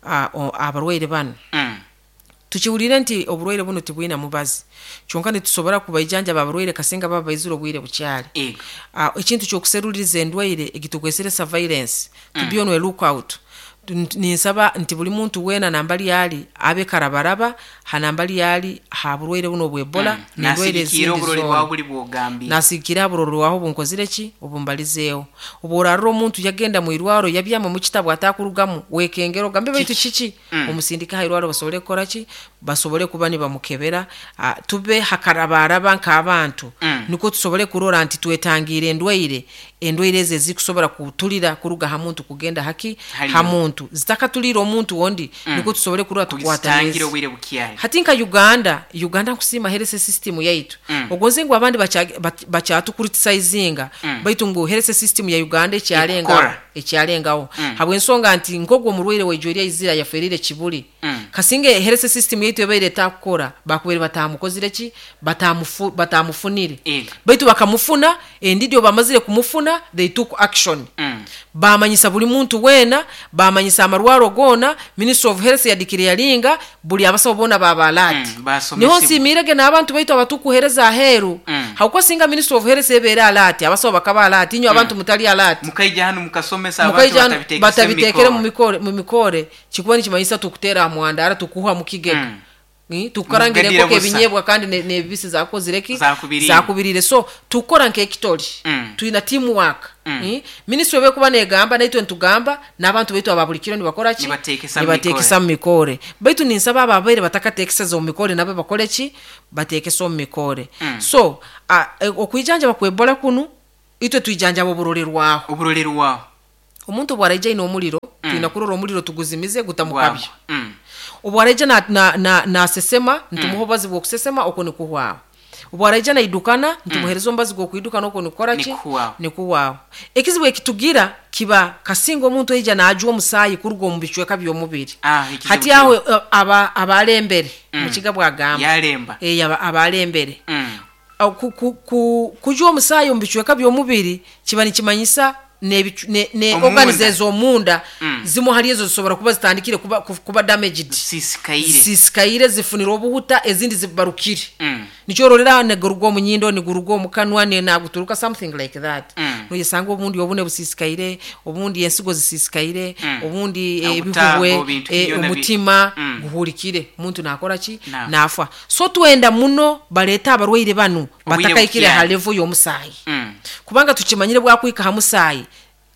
ah, o- abarwaire banu. Mm. Tukiwulire nti oburwaire buno tibwina mubazi, kyonka nitusobora kubaijanjaba abarwaire kasinga baba baizire obwire bukyali. Ego. uh, ekintu kyokuseruliriza endwaire egitukwesere surveillance, to be on a lookout. Tu- ninsaba nti buli muntu weena nambali ali abe karabaraba hanambali ali ha burwaire buno obwebola Mm. n'endwaire Nasigikira ezindi oburori zoona. bwawe buli bwogambye. Nasigikira burori waho bunkozire ki obumbalizeeho. Obu orarora omuntu yagenda mu irwaro yabyama mu kitabu atakurugamu, wekengera ogambe baitu kiki? Mm. Omusindike ha irwaro basobole kukora ki, basobole kuba nibamukebera. Ah, tube hakarabaraba nk'abantu, Mm. niko tusobole kurora nti twetangiire endwaire endwaire ezo ezikusobora kutulira kuruga ha muntu kugenda haki Haliyo. ha muntu zitakatulira omuntu ondi, niko tusobole kurora Kuzitangira tukwataniriza. obwire bukyali. Hati nka Uganda, Uganda nkusiima health system yaitu. Mm. Ogonze ngu abandi bacha- bat- bakyatucriticizinga, Mm. baitu ngu health system ya Uganda ekyalengaho. Ekukora. Ekyalengaho Mm. habwensonga nti nkogwo omurwaire waijweri aizira yaferire kibuli, Mm. kasinge health system yaitu ebaire etakukora, bakubaire batamukozire ki, batamufu, batamufunire. Ego. Baitu bakamufuna endidi, bamazire kumufuna they took action. Mm. Bamanyisa buli muntu weena, bamanyisa amarwaro goona. Ministry of Health yadikire yalinga buli abasawo boona babalati. Mm, basomesebwa. Niho nsiimirege n'abantu baitu abatukuhereza aheeru. Mm. Hakuba singa Ministry of Health ebeera alert, abasawo bakaba alert, inywe abantu mutali alert, Mukaija hanu mukasomesa abantu mukaija hanu batabitekese batabitekere mu mu mikore mu mikore kikuba nikimanyisa tukuteera mwandara tukuha mukigega. Mm. Mm. Tukukarangira Mugadira enkoko busa. ebinyebwa kandi ne- nebibisi zakozireki? Zakubiriire. Zakubiriire. So tukora nk'ekitoli, Mm. twina teamwork. Mm. Mm. Ministry ebekuba negamba naitwe ntugamba n'abantu baitu aba buli kiro nibakora ki? Nibateekesa mu Nibateekesa mu mikore. Baitu ninsaba abo abaire batakateekeseza omu mikore nabo bakole ki? Bateekese omu mikore. Mm. So a- e, okwijanjaba kwebola kunu itwe twijanjaba oburorerwaho. Oburolerwaho. Omuntu bwaraija aine omuliro, twina kurora omuliro tuguzimize gutamukabya. Mm. Obwaraija nasesema na, na nasesema, ntumuha obubazi bw'okusesema, okwo nikuhwaho. Obwaraija naidukana, ntumuhereza omubazi gw'okwidukana, okwo nikukora ki? Nikuhwaho. Nikuhwaho. Ekizibu ekitugira kiba kasinga omuntu aija najwa omusaayi kuruga omu bicweka by'omubiri. Ah, ekizibu Hati aho eh, aba abalembere Mm. mukiga bwagamba Yalemba. Eh, aba- abalembere. Mm. Au ku- ku- ku- kujwa omusaayi omu bicweka by'omubiri kiba nikimanyisa nebicu- ne, ne Omunda. organs ez'omunda Mm. zimu hali ezo zisobora kuba zitandikire kuba, ku- kuba damaged, Sisikaire. zisikaire, zifunire obuhuta, ezindi zibarukire. Mm. Nikyo ororera niguruga omu nyindo, niguruga omu kanwa, ne- naguturuka, something like that. Mm. Noyesanga obundi obune busisikaire, obundi ensigo zisisikaire, Mm. obundi eh, Obutaago, ebihubwe, bintu eh, byona bi- omutima Mm. guhulikire, omuntu nakora ki? Nafa. Nafa. So twenda muno baleete abarwaire banu Obwire batakaikire bukyali. ha level y'omusaayi, Mm. kubanga tukimanyire bwakwika ha musaayi,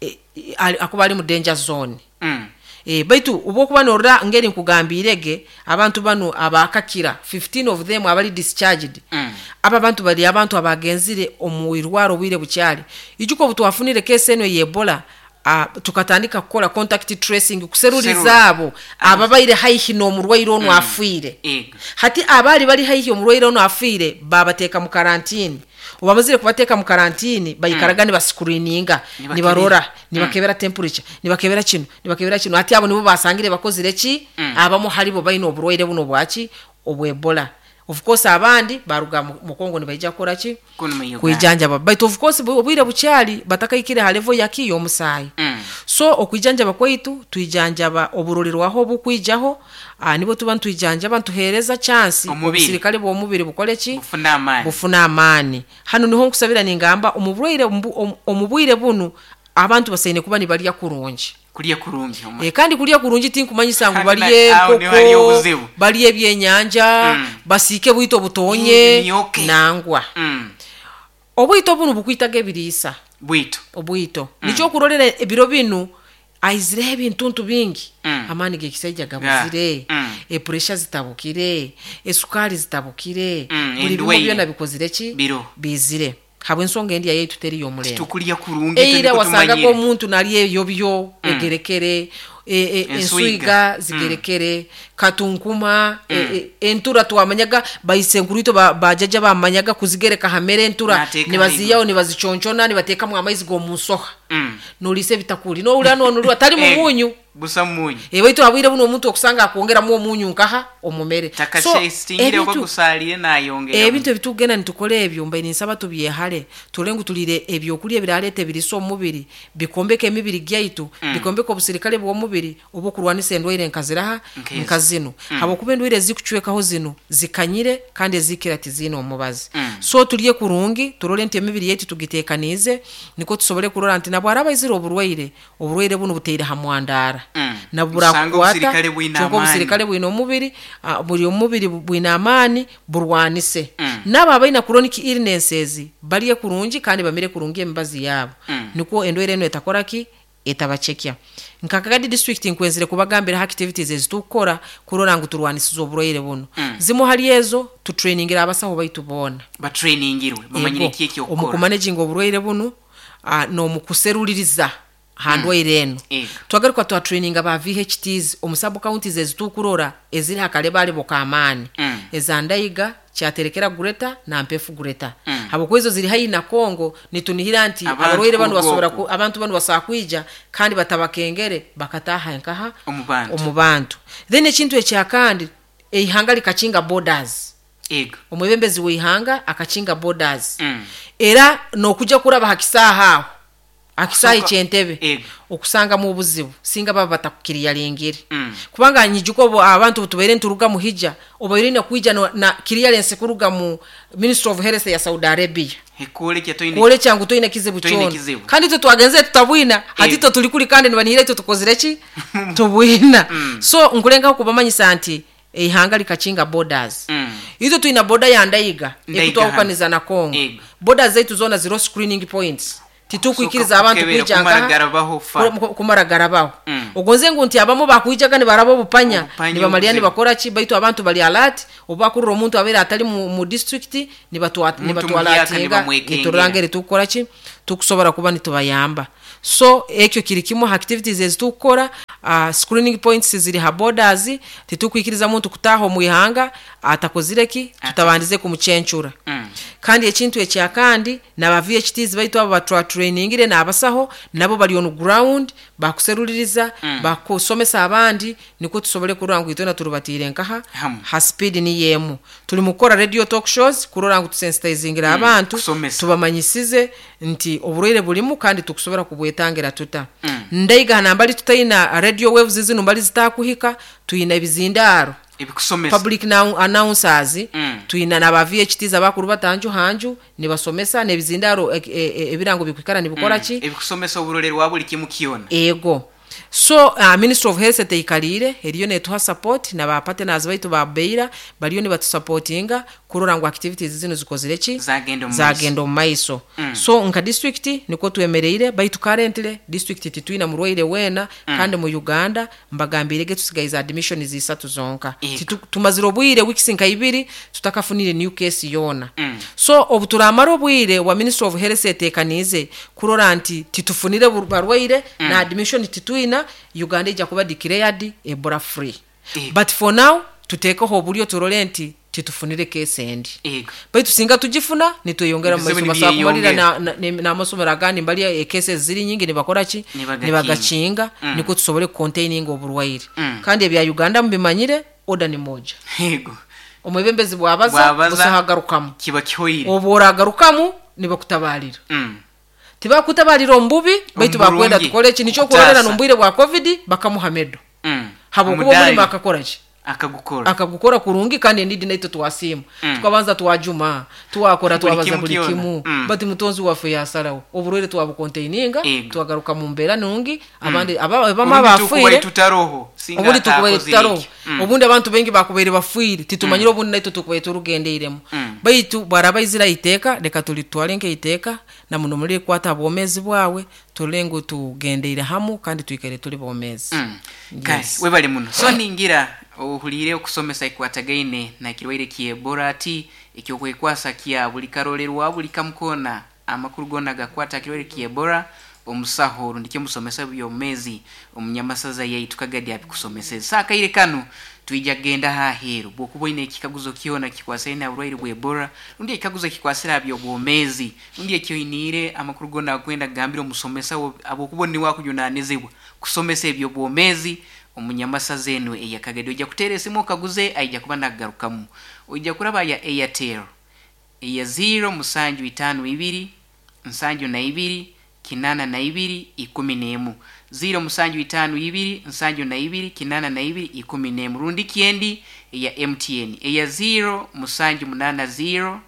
eh, eh, ali- akuba ali mu danger zone. Mm. E, baitu obwokuba norora ngeri nkugambirege abantu banu abakakira fifteen of them abali discharged. Mm. Aba bantu bali abantu abagenzire omu irwaro obwire bukyali. Ijuka obu twafunire case eno y'Ebola, uh, tukatandika kukola contact tracing kuseruliza Kuserura. abo ababaire haihi n'omurwaire ono afiire. Ego. Hati abali bali haihi omurwaire ono afiire babateeka mu karantini. Obamazire kubateeka mu karantini baikaraga mm. nibascreeninga, Nibakebera. nibarora, nibakebera temperature, nibakebera kino, nibakebera kino. Hati abo nibo basangire bakozire ki? Mm. Abamu halibo baine oburwaire buno bwaki obw'Ebola. Of course abandi baruga mu mu Kongo nibaija kukora ki? Kuno mu Uganda. Kwijanjaba. Baitu of course bu- obwire bukyali batakaikire ha level yaki y'omusaayi. Mm. So okwijanjaba kwaitu twijanjaba oburolerwaho obukwijaho, ah, nibo tuba ntwijanjaba ntuhereza chance Omubiri. obusirikale bw'omubiri bukole ki? Bufuna amaani. Bufuna amaani. Hano niho nkusabira ningamba omubwire omu- omu bwire bunu abantu basaine kuba nibalya kurungi. Kulya kurungi. Omu- E, kandi kulya kurungi tinkumanyisa ngu Hano balye na- aho niho hariyo enkoko, obuzibu. balye ebyenyanja, Mm. basiike bwito butonye, Emyoke. nangwa. Mm. Obwito bunu bukwitaga ebiriisa. Bwito. Obwito. Mm. Nikyo okurorera ebiro binu aizireho ebintuntu bingi. Mm. Amaani g'ekisaija gabuzire, Mm. epuresha zitabukire, esukari zitabukire, Mm, buli bimwe endwaire. byona bikozire ki? Biro. Bizire. Habw'ensonga endya yaitu teri y'omulembe. Tukulya kurungi Eira turi wasangaga kutumanyire. omuntu nalya ebyo byo egerekere, e, e, Ensuiga. ensuiga zigerekere, katunkuma, e, e, entura twamanyaga baisenkuru itwe ba- bajaja bamanyaga kuzigereka hamere entura Nateeka nibaziyaho nibazichonchona nibateekamu amaizi g'omunsoha. Mm. Noliisa ebitakuli nowulira nonulwa tali Eh, mumunyu. Busa munyu. E, baitu habwire buno omuntu okusanga akwongeramu omunyu nkaha omumere. So, Takasestingire oba ebintu- gusalire nayongera. ebintu ebitugenda nitukora ebyo mbaire ninsaba tubyehale, turole ngu tulire ebyokulya ebiraleeta ebiriisa omubiri, bikombeka emibiri gyaitu, Mm. bikombeka obusirikale bw'omubiri obw'okurwanisa endwaire nkaziraha Nk'ezo. nka zino. Mm. Habwokuba endwaire ezikucwekaho zino zikanyire kandi ezikira tiziine omubazi. Mm. So tulye kurungi, turole nti emibiri yaitu tugiteekaniize nikwo tusobole kurora nti nabwo araba aizire oburwaire, oburwaire bunu buteire ha mwandara. Mm. Nabwo Usanga burakukwata, obusirikale bwine kyonka amaani. obusirikale bwine omubiri, ah, buri omubiri bwine amaani burwanise. Mm. N'abo abaina chronic illnesses balye kurungi kandi bamire kurungi emibazi yaabo. Mm. Nikwo endwaire eno etakora ki? Etabacekya. Nka Kagadi district nkwenzire kubagambira activities ezitukukora kurora ngu turwanisize oburwaire buno. Mm. Zimu hali ezo tutrainingira abasaho baitu boona. Batrainingirwe bamanyire Ego, ki omu ekyokukora. kumanaginga oburwaire bunu, ah, n'omukuseruliriza ha ndwaire eno. Ego. Twagaruka twatraininga ba V H Ts omu sub counties ezitukurora eziri hakalebalebo k'amaani. Mm. Eza Ndaiga, Kyaterekera Greater na Mpefu Greater. Mm. Habwokuba ezo ziri haihi na Kongo, nitunihira nti Abantu abarwaire banu kuruga basobora okwo. ku-, abantu banu basobora kwija kandi batabakengere bakataha nkaha Omu bantu. omu bantu. Then ekintu ekyakandi eihanga likakinga borders. Ego. Omwebembezi w'eihanga akakinga borders. Mm. Era n'okujja kuraba ha kisaaha aho, akisaaha Okusoka- eky'entebe, Ego. okusangamu obuzibu singa baba batakukiriyalingire. Mm. Kubanga nyijuka obu abantu tubaire nturuga muhija, obaire na kwija no, na clearance kuruga mu Ministry of Health ya Saudi Arabia. Kwolekya toine Kwolekya ngu toine kizibu Toine kyona. kizibu. Kandi itwe twagenze tutabwina, hati Ego. itwe tuli kuli kandi nibanihira itwe tukozire ki? Tubwina. Mm. So nkulengaho kubamanyisa nti eihanga likakinga borders. Mm. Itwe twina border ya Ndaiga, Ndaiga ekutwahukaniza na Kongo. Ego. Borders zaitu zona zero screening points. Titukwikiriza Kusoka abantu kukebera, kwija kumara nkaha, garabaho fa. ku-, kumara garabaho. Mm. Ogonze ngu nti abamu bakwijaga nibaraba obupanya, Obupanya nibamalya obuzibu. nibakora ki, baitu abantu bali alert, oba kurura omuntu abeera atali mu, mu district, nibatwa-, Omuntu nibatwala muhyaka atinga, nibamwekengera. niturora ngeri tukukora ki, tukusobora kuba nitubayamba. So ekyo kiri kimu ha activities ezitukukora, uh, screening points ziri ha borders, titukwikiriza muntu kutaha omu ihanga atakozire ki, Ata. tutabandize kumucencura. Mm. Kandi ekintu ekyakandi n'aba V H Ts baitu abo batwa trainingire n'abasaho nabo bali on ground bakuseruliriza, Mm. bakusomesa abandi niko tusobole kurora ngu itwena turubatiire nkaha Hamu. ha speed ni yemu. Tuli mu kukora radio talk shows kurora ngu tusensitizingira Mm, abantu, kusomesa. tubamanyisize nti oburwaire bulimu kandi tukusobora kubwetangira tuta. Mm. Ndaiga nambali tutaina radio waves zino mbali zitakuhika, tuyina ebizindaro ebikusomesa public now announcers, Mm. tuyina n'aba V H Ts abakuru batanju hanju nibasomesa n'ebizindaro, e, e, e, ebirango bikwikara nibikora Mm. ki ebikusomesa oburorero wa buli kimu kyona. Ego. So, uh, Ministry of Health teikalire eriyo netuha support na ba partners baitu ba Beira bariyo nibatusupportinga Kurora ngu activities zinu zikozire ki, zagenda omu maiso. Zagenda omu maiso. Mm. So nka district nikwo twemereire, baitu currently district titwina murwaire weena. Mm. Kandi mu Uganda mbagambirege tusigaize admission zisatu zonka. Ego. Titu- tumazire obwire weeks nka ibiri tutakafunire new case yoona. Mm. So obu turamara obwire wa Ministry of Health etekaniize kurora nti titufunire bur- barwaire Mm. na admission titwina, Uganda ijja kuba declared Ebola free. Ego. But for now tuteekeho oburyo turole nti titufunire case endi. Ego. Baitu singa tugifuna nitweyongera mu Ebizibu maiso, basobola kumalira nibyeyongera. na- na- n'amasomero agandi mbali ekese ziri nyingi nibakora ki, Nibagakinga. nibagakinga. Mm. Niko tusobole kucontaininga oburwaire. Mm. Kandi ebya Uganda mubimanyire, order ni moja. Ego. Omwebembezi bwabaza, Bwabaza, busahagarukamu, kiba kihoire. Obu oragarukamu nibakutabalira. Mm. Tibakutabalira omu bubi, baitu bakwenda Omurungi. tukole ki, nikyo kurorera Kutaasa. n'omu bwa COVID bakamuha medal Mm. habwokuba Omudali. omulimo akakora ki, akagukora. Akagukora kurungi. Kandi endidi naitwe twasiima. Mm. Tukabanza twajuma, twakora, Buli twabaza kimu buli kyona. kimu. Mm. Bati mutonzi waffe yasalawo, oburwaire twabukontaininga, Ego. twagaruka mu mbeera nungi. Abandi aba- abamu Obundi tukubaire abafiire tutaroho singa obundi tukubaire atakozire tutaroho. eki. Mm. Obundi abantu baingi bakubaire bafiire, titumanyire. Obundi naitwe tukubaire turugendeiremu. Mm. Baitu bwaraba izira iteeka, reka tulitwale nk'eiteeka na muno mulirikwata bwomezi bwawe, turole ngu tugendeire hamu kandi twikaire tuli bomezi. Mm. Kale Yes. webale muno. So ningira ohuliire okusomesa ekwatagaine na kirwaire kye Ebola, ati ekyokwekwasa kya buli karolerwa buli kamukona amakuru gona gakwata kirwaire kye Ebola, omusaho rundi musomesa byomezi omunyamasaza yaitu Kagadi abikusomeseza. Saakaire kanu twija kugenda haheru. Bwokuba oine ekikaguzo kyona kikwasire na burwaire bwa Ebola, rundi ekikaguzo kikwasire abyobwomezi, rundi ekyoiniire amakuru gona akwenda kugambira omusomesa wo- habwokuba niwe akujunanizibwa kusomesa ebyobwomezi omunyamasaza enu eyakagadi, ojja kuteera esimu okaguze, aija kuba nagarukamu. Ojja kuraba ya Airtel eya zero musanju itaano ibiri nsanju na ibiri kinana na ibiri ikumi n'emu, zero musanju itaano ibiri nsanju na ibiri kinana na ibiri ikumi n'emu. Rundi kyendi eya M T N eya zero musanju munana zero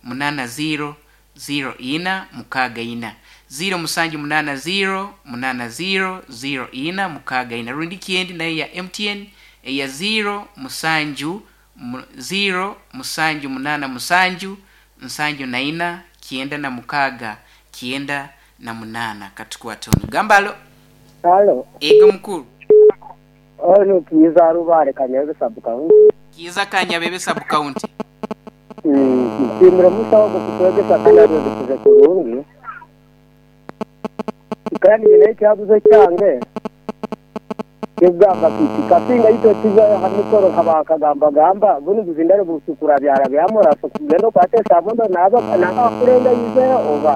munana zero zero ina mukaaga ina, zero musanju munana zero munana zero zero ina mukaaga ina. Rundi kyendi nayo ya M T N eya zero musanju mu- zero musanju munana musanju nsanju na ina kienda na mukaaga kienda na munana. Katukwatonu gambalo. Halo, Ego mukuru. Ono Kiza Rubare, Kanyebe sub county. Kiza, Kanyabebe sub county. Nshimire musawo gukutwegesa kandi arwegesize kurungi. Kandi nyine ekyabuzo kyange kigamba kiti kasinga itwe tujayo ha mikoro nkabakagambagamba bunu buzindaro busukura byara byamuraso kugenda okwate sabundo naba naba yizeyo oba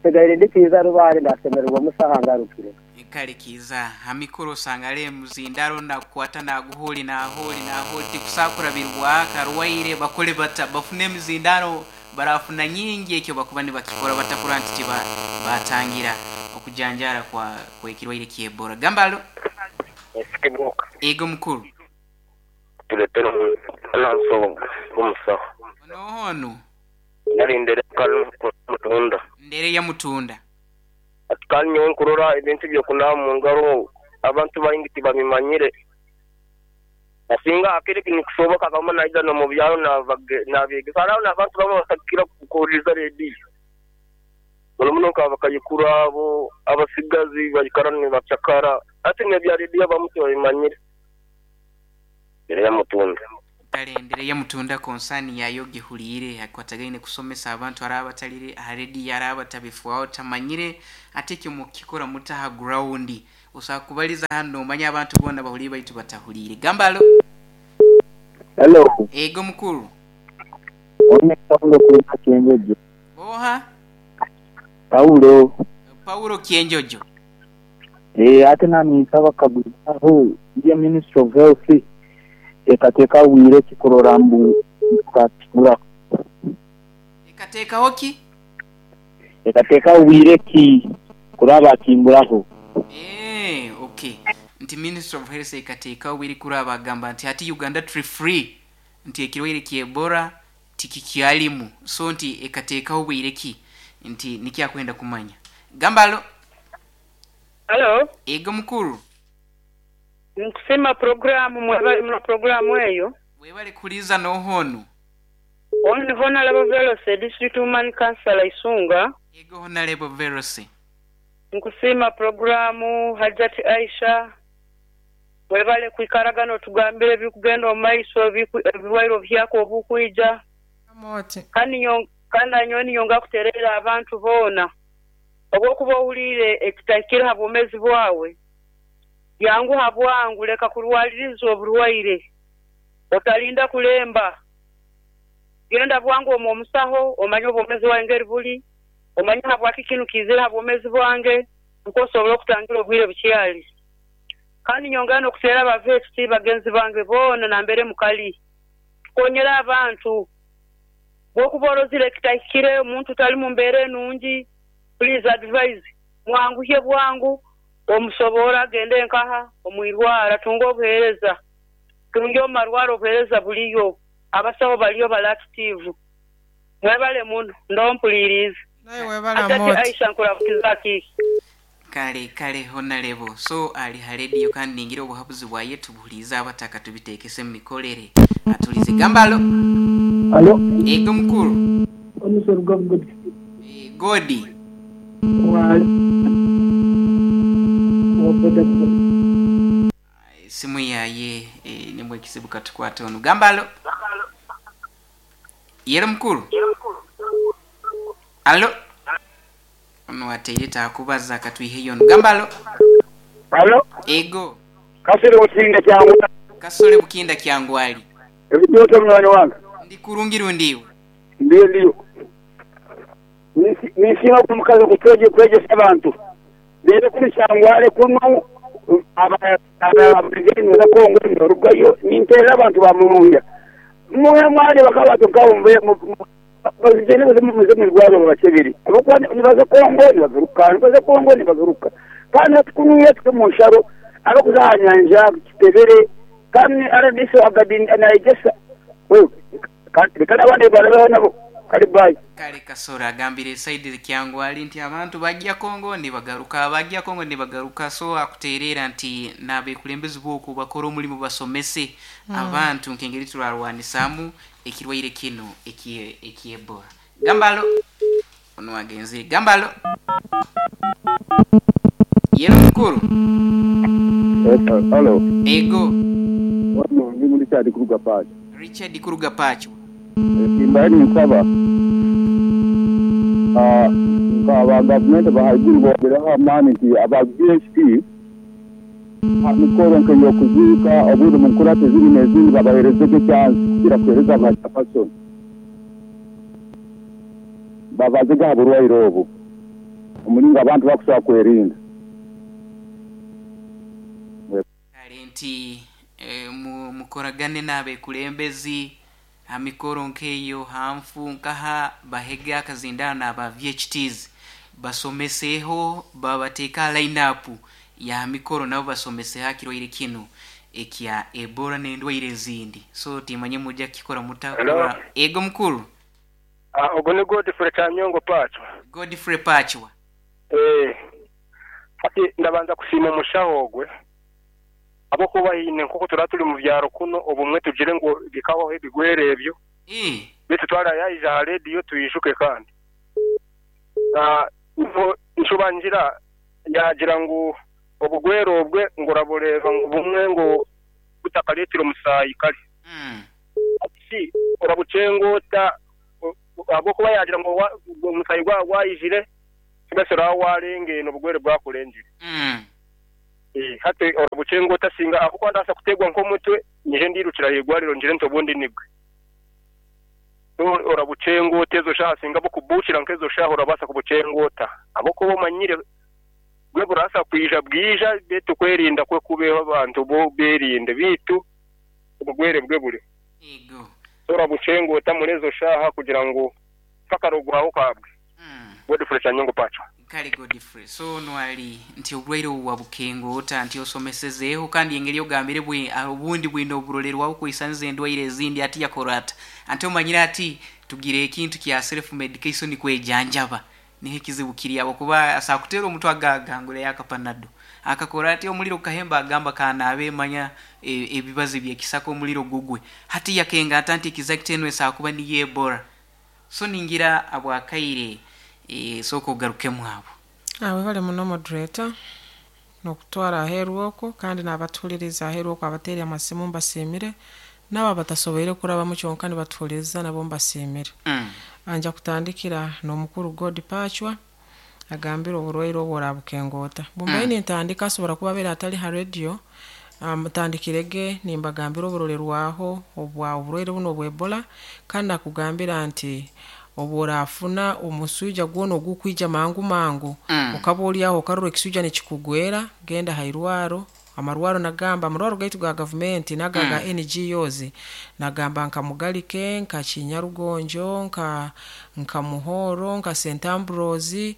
tegaire. Ndi Kiza Rubare, ndasemererwa musaha ngarukire. Kale Kiza, hamikoro osanga muzindaro nakukwata naguholi naholi naholi tikusakurabirwa karwaire bakole bata bafune emizindaro barafuna nyingi, ekyo bakuba nibakikora batakura nti tiba batangira okujanjara kwa kwekirwaire kyebora. Gambalo. Esikibuka. Ego mukuru. Tuletera omulanso gumusaho. Onohono. Narindere mutunda. Ndere ya mutunda. Ati kandi nyowe nkurora ebintu byokunaaba mu ngaro abantu baingi tibabimanyire, asinga akiri nikusoboka kama naija nomu byaro nabegesa haraho n'abantu bamwe batakira kuhuririza rediyo muno muno nka bakayikuru abo abasigazi baikara nibacakara, ati nebya rediyo abamu tibabimanyire. Mbere ya mutunda. Kale ndere ya mutunda, konsani yayo gihuliire akwatagaine kusomesa abantu ari abatalire aha rediyo, ari abatabifuaho tamanyire, ate ekyo mukikora mutaha ground osobola kubaliza hano omanye abantu boona bahuliire baitu batahuliire. Gambalo. Hello. Ego mukuru. One Paulo kuruga Kyenjojo. Oha? Paulo. Paulo Kyenjojo. Eh, ate nami nsaba kaguzaho ya Ministry of Health ekateeka bwire kikurora mbu tukakigura. Ekateekaho ki? Ekateeka bwire ki kuraba kimburaho. Eh, okay, nti Ministry of Health ekateekaho bwiri kuraba agamba nti hati Uganda tuli free, nti ekirwaire kyebora tikikyalimu, so nti ekateekaho bwire ki, nti nikyakwenda kumanya. Gambalo. Halo, Ego mukuru. Nkusema programu mwebale muno programu eyo. Webale kuliza nohonu. Onu Honorable Veloce, District Woman Councillor Isunga. Ego Honorable Veloce. Nkusiima programu Hajati Aisha. Webale kwikaragana otugambire ebikugenda omu maiso ebirwaire obuhyaka obukwija. Kandi kandi nyowe ninyonga kuterera abantu boona. Obwokuba ohuliire ekitahikire ha bwomeezi bwawe, yanguha bwangu leka kurwaliriza oburwaire. Otalinda kulemba. Genda bwangu omu omusaho omanye obwomeezi bwawe ngeri buli, omanye habwaki kinu kiizire ha bwomeezi bwange, nukwo osobole okutangira obwire bukyali. Kandi nyongera n'okuteera abaveeti bagenzi bange boona nambere mukali. Tukonyere abantu. Bwokuba orozire ekitahikire omuntu tali mu mbeera enungi, please advise mwanguhye bwangu omusobora agende nkaha omwirwaro atunge obuheereza. Tunge omu marwaro obuheereza buliyo, abasaho baliyo bali active. Mwebale muno ndo mpuliriize. Naye webale Hajati Amoti. Aisha nkurabukiza kiiki. Kale kale Honorable. So ali ha radio kandi ningira obuhabuzi bwaye tubuhuliize abataka tubitekese mu mikorere. Atulize gambalo. Alo. Ego mukuru. Omusoro gwa E, Godi. Wa Simu yaye e, nimwe ekizibu katukwate ono. Gambalo. Yero mukuru. Alo. Ono ateire takubaza akatwiheyo ono. Gambalo. Alo. Ego. Kasore bukinda kyangu. Kasore bukinda kyangwali. Ebyoto mwana wange. Ndi kurungiru ndiwe. Ndiyo ndiyo. Nisima kumukazi kutweje kwegesa abantu. Rero kuri kyangwale kuno aba aba za Kongo norugayo nintera abantu bamurunja. Mwe mwali bakaba tukawumve bazigene baze mu rwaro babakebiri. Abakwa nibaza Kongo nibagaruka, nibaza Kongo nibagaruka. Kandi tukunuye tuke mu nsharo abakuza nyanja kitebere kandi R D C agadin anayegesa. Wewe kandi kana abandi barabaho nabo kali bayi. Kale Kasora agambire saidi kyangwali nti abantu bajja Kongo nibagaruka, bajja Kongo nibagaruka. So akuterera nti nabekulembezi bwoku bakora omulimu basomese mm. abantu nkengeri turarwanisamu ekirwaire kino ekie ekiebora. Gambalo ono agenzi gambalo. Yero mukuru. Hello. Ego. Wano ndi muri Richard Kuruga Pacho. Richard Kuruga Pacho. Kimbaye nsaba ah aba government bahagiri bongeraho amaani nti aba V H P amikoro nkeyo kuziika obundi mu nkurate ziri n'ezindi babaherezege chance kugira kuhereza abapasoni babazega aburwaire obu omulingo abantu bakusobola kwerinda. Kale nti e, mukoragane n'abekulembezi amikoro nkeyo hanfu nkaha bahega akazindana aba V H Ts basomeseho babateeka line up ya mikoro nabo basomese hakirwaire kino ekya Ebola n'endwaire ezindi. So timanye mujja kikora mutakora. Ego mukuru. Ah ogo ni Godfrey Chanyongo Pacho. Godfrey Pacho. Eh ati ndabanza kusima omushaho ogwe abo kuba hine nkuko turatuli mu byaro kuno obumwe tugire ngo bikabaho ebigwere ebyo. Eh bitu twara yaija ha radio tuyishuke kandi. Ah nshubanjira yagira ngo obugwero obwe nguraboreva ngo bumwe ngo butakaletira omusayi kali. Mm. Ati orabucengota abo kuba yagira ngo omusayi gwa gwayijire kibasera warenge no bugwere bwakulenjire. Mm. Eh hati orabucengota singa abo kwandasa kutegwa nko mutwe nije ndirukira yegwariro njire ntobundi nigwe. Orabucengota ezo shaha singa bokubukira nkezo shaha orabasa kubucengota abo kuba manyire gwe burasa kwija bwija betu kwerinda kwe kubeho abantu bo berinde bitu ubugwere bwe buri. Ego. Orabucengota murezo shaha kugira ngo fakarogwaho kabwe. Mm. Godfrey Chanyongo Pacho. Kale Godfrey. So nwali nti obulwaire obwa bukengota nti osomesezeeho kandi engeri ogambire bwe obundi bwino oburolerwaho kwisanza endwaire ezindi ati yakorata. Ante omanyire ati tugire ekintu kya self medication kwejanjaba. Niho ekizibu kiri abo kuba asakutera omutwe agagangura yakapanado. Akakora ati omuliro gukahemba, agamba kanaabe manya e- ebibazi byekisaka omuliro gugwe. Hati yakenga ata nti exact eno esakuba niyo Ebola. So ningira abwakaire e, sooka ogarukemu abo. Abo bali muno, moderator, n'okutwara aheeru okwo, kandi n'abatuhuliriza aheeru okwo abateeri amasimu mbasiimire, n'abo abatasoboire kurabamu kyonka nibatuhuliriza nabo mbasiimire. Mm. Anja kutandikira n'omukuru God Pachwa agambire oburwaire obwo orabukengoota bumbaye. Mm. Nintandika asobora kuba abeire atali ha radio, mutandikirege nimbagambira oburorerwaho obwa oburwaire buno obwa Ebola, kandi nakugambira nti obworafuna omuswija gwona ogukwija mangu mangu, Mm. okaba oli aho okarora ekiswija nikikugwera, genda hairwaro. Amarwaro nagamba amarwaro gaitu ga gavumenti naga ga Mm. N G Os, nagamba nka Mugalike, nka Kinyarugonjo, nka nka Muhoro, nka Saint Ambrose,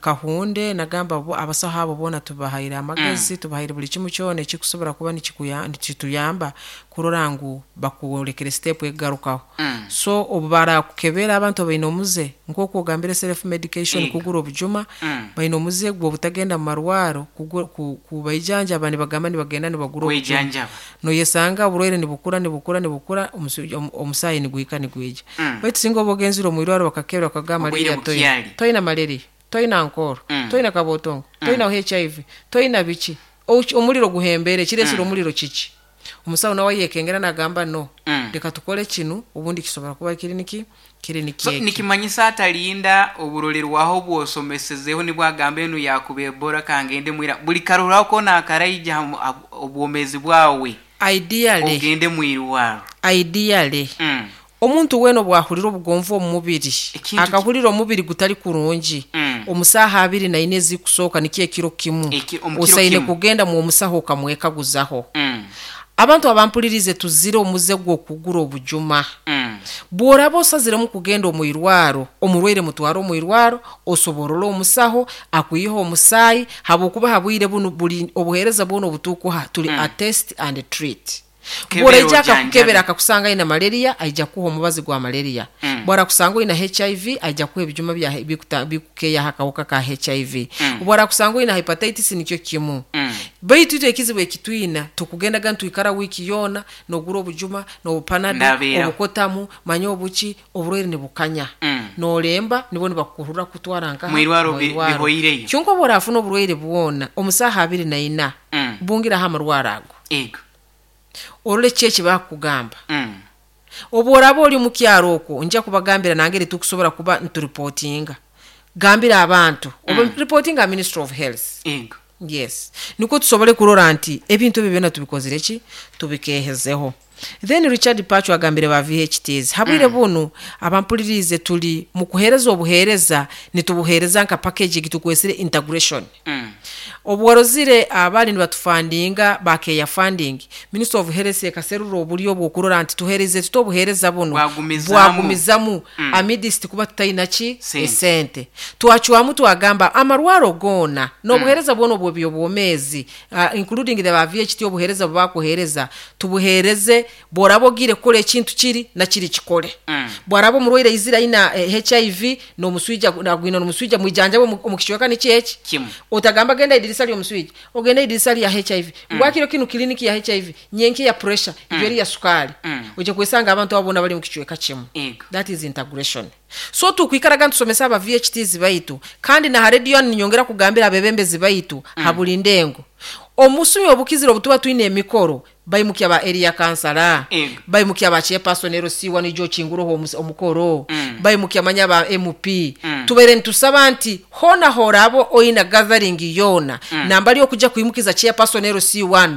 Kahunde. Nagamba bo abasaho abo boona tubahaire amagezi, tubahaire buli kimu kyona ekikusobora kuba nikikuya- nikituyamba kurora ngu bakurekere step egarukaho. Mm. So obu barakukebera, abantu baine omuze nk'oku ogambire, self medication, Ego. kugura obujuma. Mm. Baine omuze gw'obutagenda mu marwaro kugu- ku- kubaijanjaba, nibagamba nibagenda nibagura obujuma. Kwejanjaba. Noyesanga oburwaire nibukura, nibukura, nibukura, omusu- omu- omusaayi niguhika nigwija. Mm. Baitu singa oba ogenzire omu irwaro bakakebera bakagamba Obwire malaria toina, bukyali. toina malaria, toina nkoro, Mm. toina kabotongo, toina H I V, toina biki. Oki- omuliro guhembere kiresire Mm. omuliro kiki? Omusawo nawe yekengera nagamba no, Mm. leka tukole kinu, obundi kisobora kuba kiri niki kiri So nikyeki. nikimanyisa atalinda oburolerwaho bwosomesezeho nibwagamba enu yakuba Ebola kangende mwira buli karuraho kona akaraija hamu- ab- obwomezi bwawe, Ideally, ogende mwirwaro. Ideally, mm. omuntu weena obwahurira obugonvu omu mubiri, Ekintu akahurira omubiri gutali kurungi, Mm. omusaaha abiri naine ezikusooka, nikyo ekiro kimu, Eki- omu kiro osaine kimu. kugenda mu omusaho okamwekaguzaho. Mm. Abantu abampulirize, tuzire omuze gw'okugura obujuma. Mm. Bw'oraba osaziremu kugenda omu irwaro, omurwaire mutware omu irwaro, osoborole omusaho akwiha omusaayi, habwokuba habwire bunu buli obuheereza bwona obutukuha tuli Mm. a test and treat. Kebera, Bw'oraija ojanjabe. akakukebera akakusanga aina malaria, aija kuha omubazi gwa malaria. Mm. Bw'arakusanga oina H I V, aija kuha ebijuma bya- bikuta- bikukeyaho akawuka ka H I V. Mm. Bw'arakusanga oina hepatitis, nikyo kimu. Mm. Baitu itwe ekizibu ekitwina, tukugendaga nitwikara wiiki yoona nogura obujuma nobupanado, Ndabeeraho. obukotamu, manya obuki, oburwaire nibukanya. Mm. Nolemba nibwo nibakukurura kutwara nkaha? Mwirwaro bi- Mwirwaro. Bihoireyo. Kyonka oba orafuna oburwaire bwona omusaaha abiri naina, Mm. bungiraho amarwaro ago, ego orole ki eki bakugamba. Mm. Obu oraba oli mu kyaro okwo, nja kubagambira nangeri tukusobola kuba nituripotinga. Gambira abantu oba Mm. reportinga Ministry of Health. Ego yes, nikwo tusobole kurora nti ebintu ebyo byona tubikozire ki, tubikehezeho. Then Richard Pacho agambire ba V H Ts habwire Mm. bunu abampulirize, tuli mu kuhereza obuhereza, nitubuhereza nka package gitukwesire integration. Mm. Obworozire abali nibatufandinga bakeya funding, Minister of Health ekaserura oburyo bwokurora nti tuhereze tuta obuhereza buno. Bwagumizamu. Bwagumizamu Mm. amidst kuba tutaina ki? Sente. Esente. Twacwamu twagamba amarwaro goona n'obuhereza bwona obw'ebyobwomeezi, uh, including the ba V H T, obuhereza bwebakuhereza tubuhereze. Bworaba ogire kukora ekintu kiri nakiri kikole. Mm. Bwaraba omurwaire aizire aina eh, H I V n'omuswija, agwina n'omuswija, mwijanjabe omu omu kicweka niki eki Kimu. Otagamba genda idirisa ly'omuswija, ogenda idirisa lya H I V, ngwakiro kinu kiliniki ya H I V, nyenki ya pressure, ibyo eri ya sukali. Mm. Ojja kwesanga abantu abo bona bali mu kicweka kimu. Ego That is integration. So tukwikaraga ntusomesa aba V H Ts baitu, kandi na radio ninyongera kugambira abebembezi baitu mm. habuli ndengo omusumi obukizire obutuba twine emikoro, baimukya ba area councilor, Ego. baimukya ba chairperson ero siwa nijo kinguroho omus- omukoro, Mm. baimukya manya ba M P. Mm. Tubaire nitusaba nti hona horabo oina gathering yona, Mm. nambali okuja kuimukiza chairperson ero C one.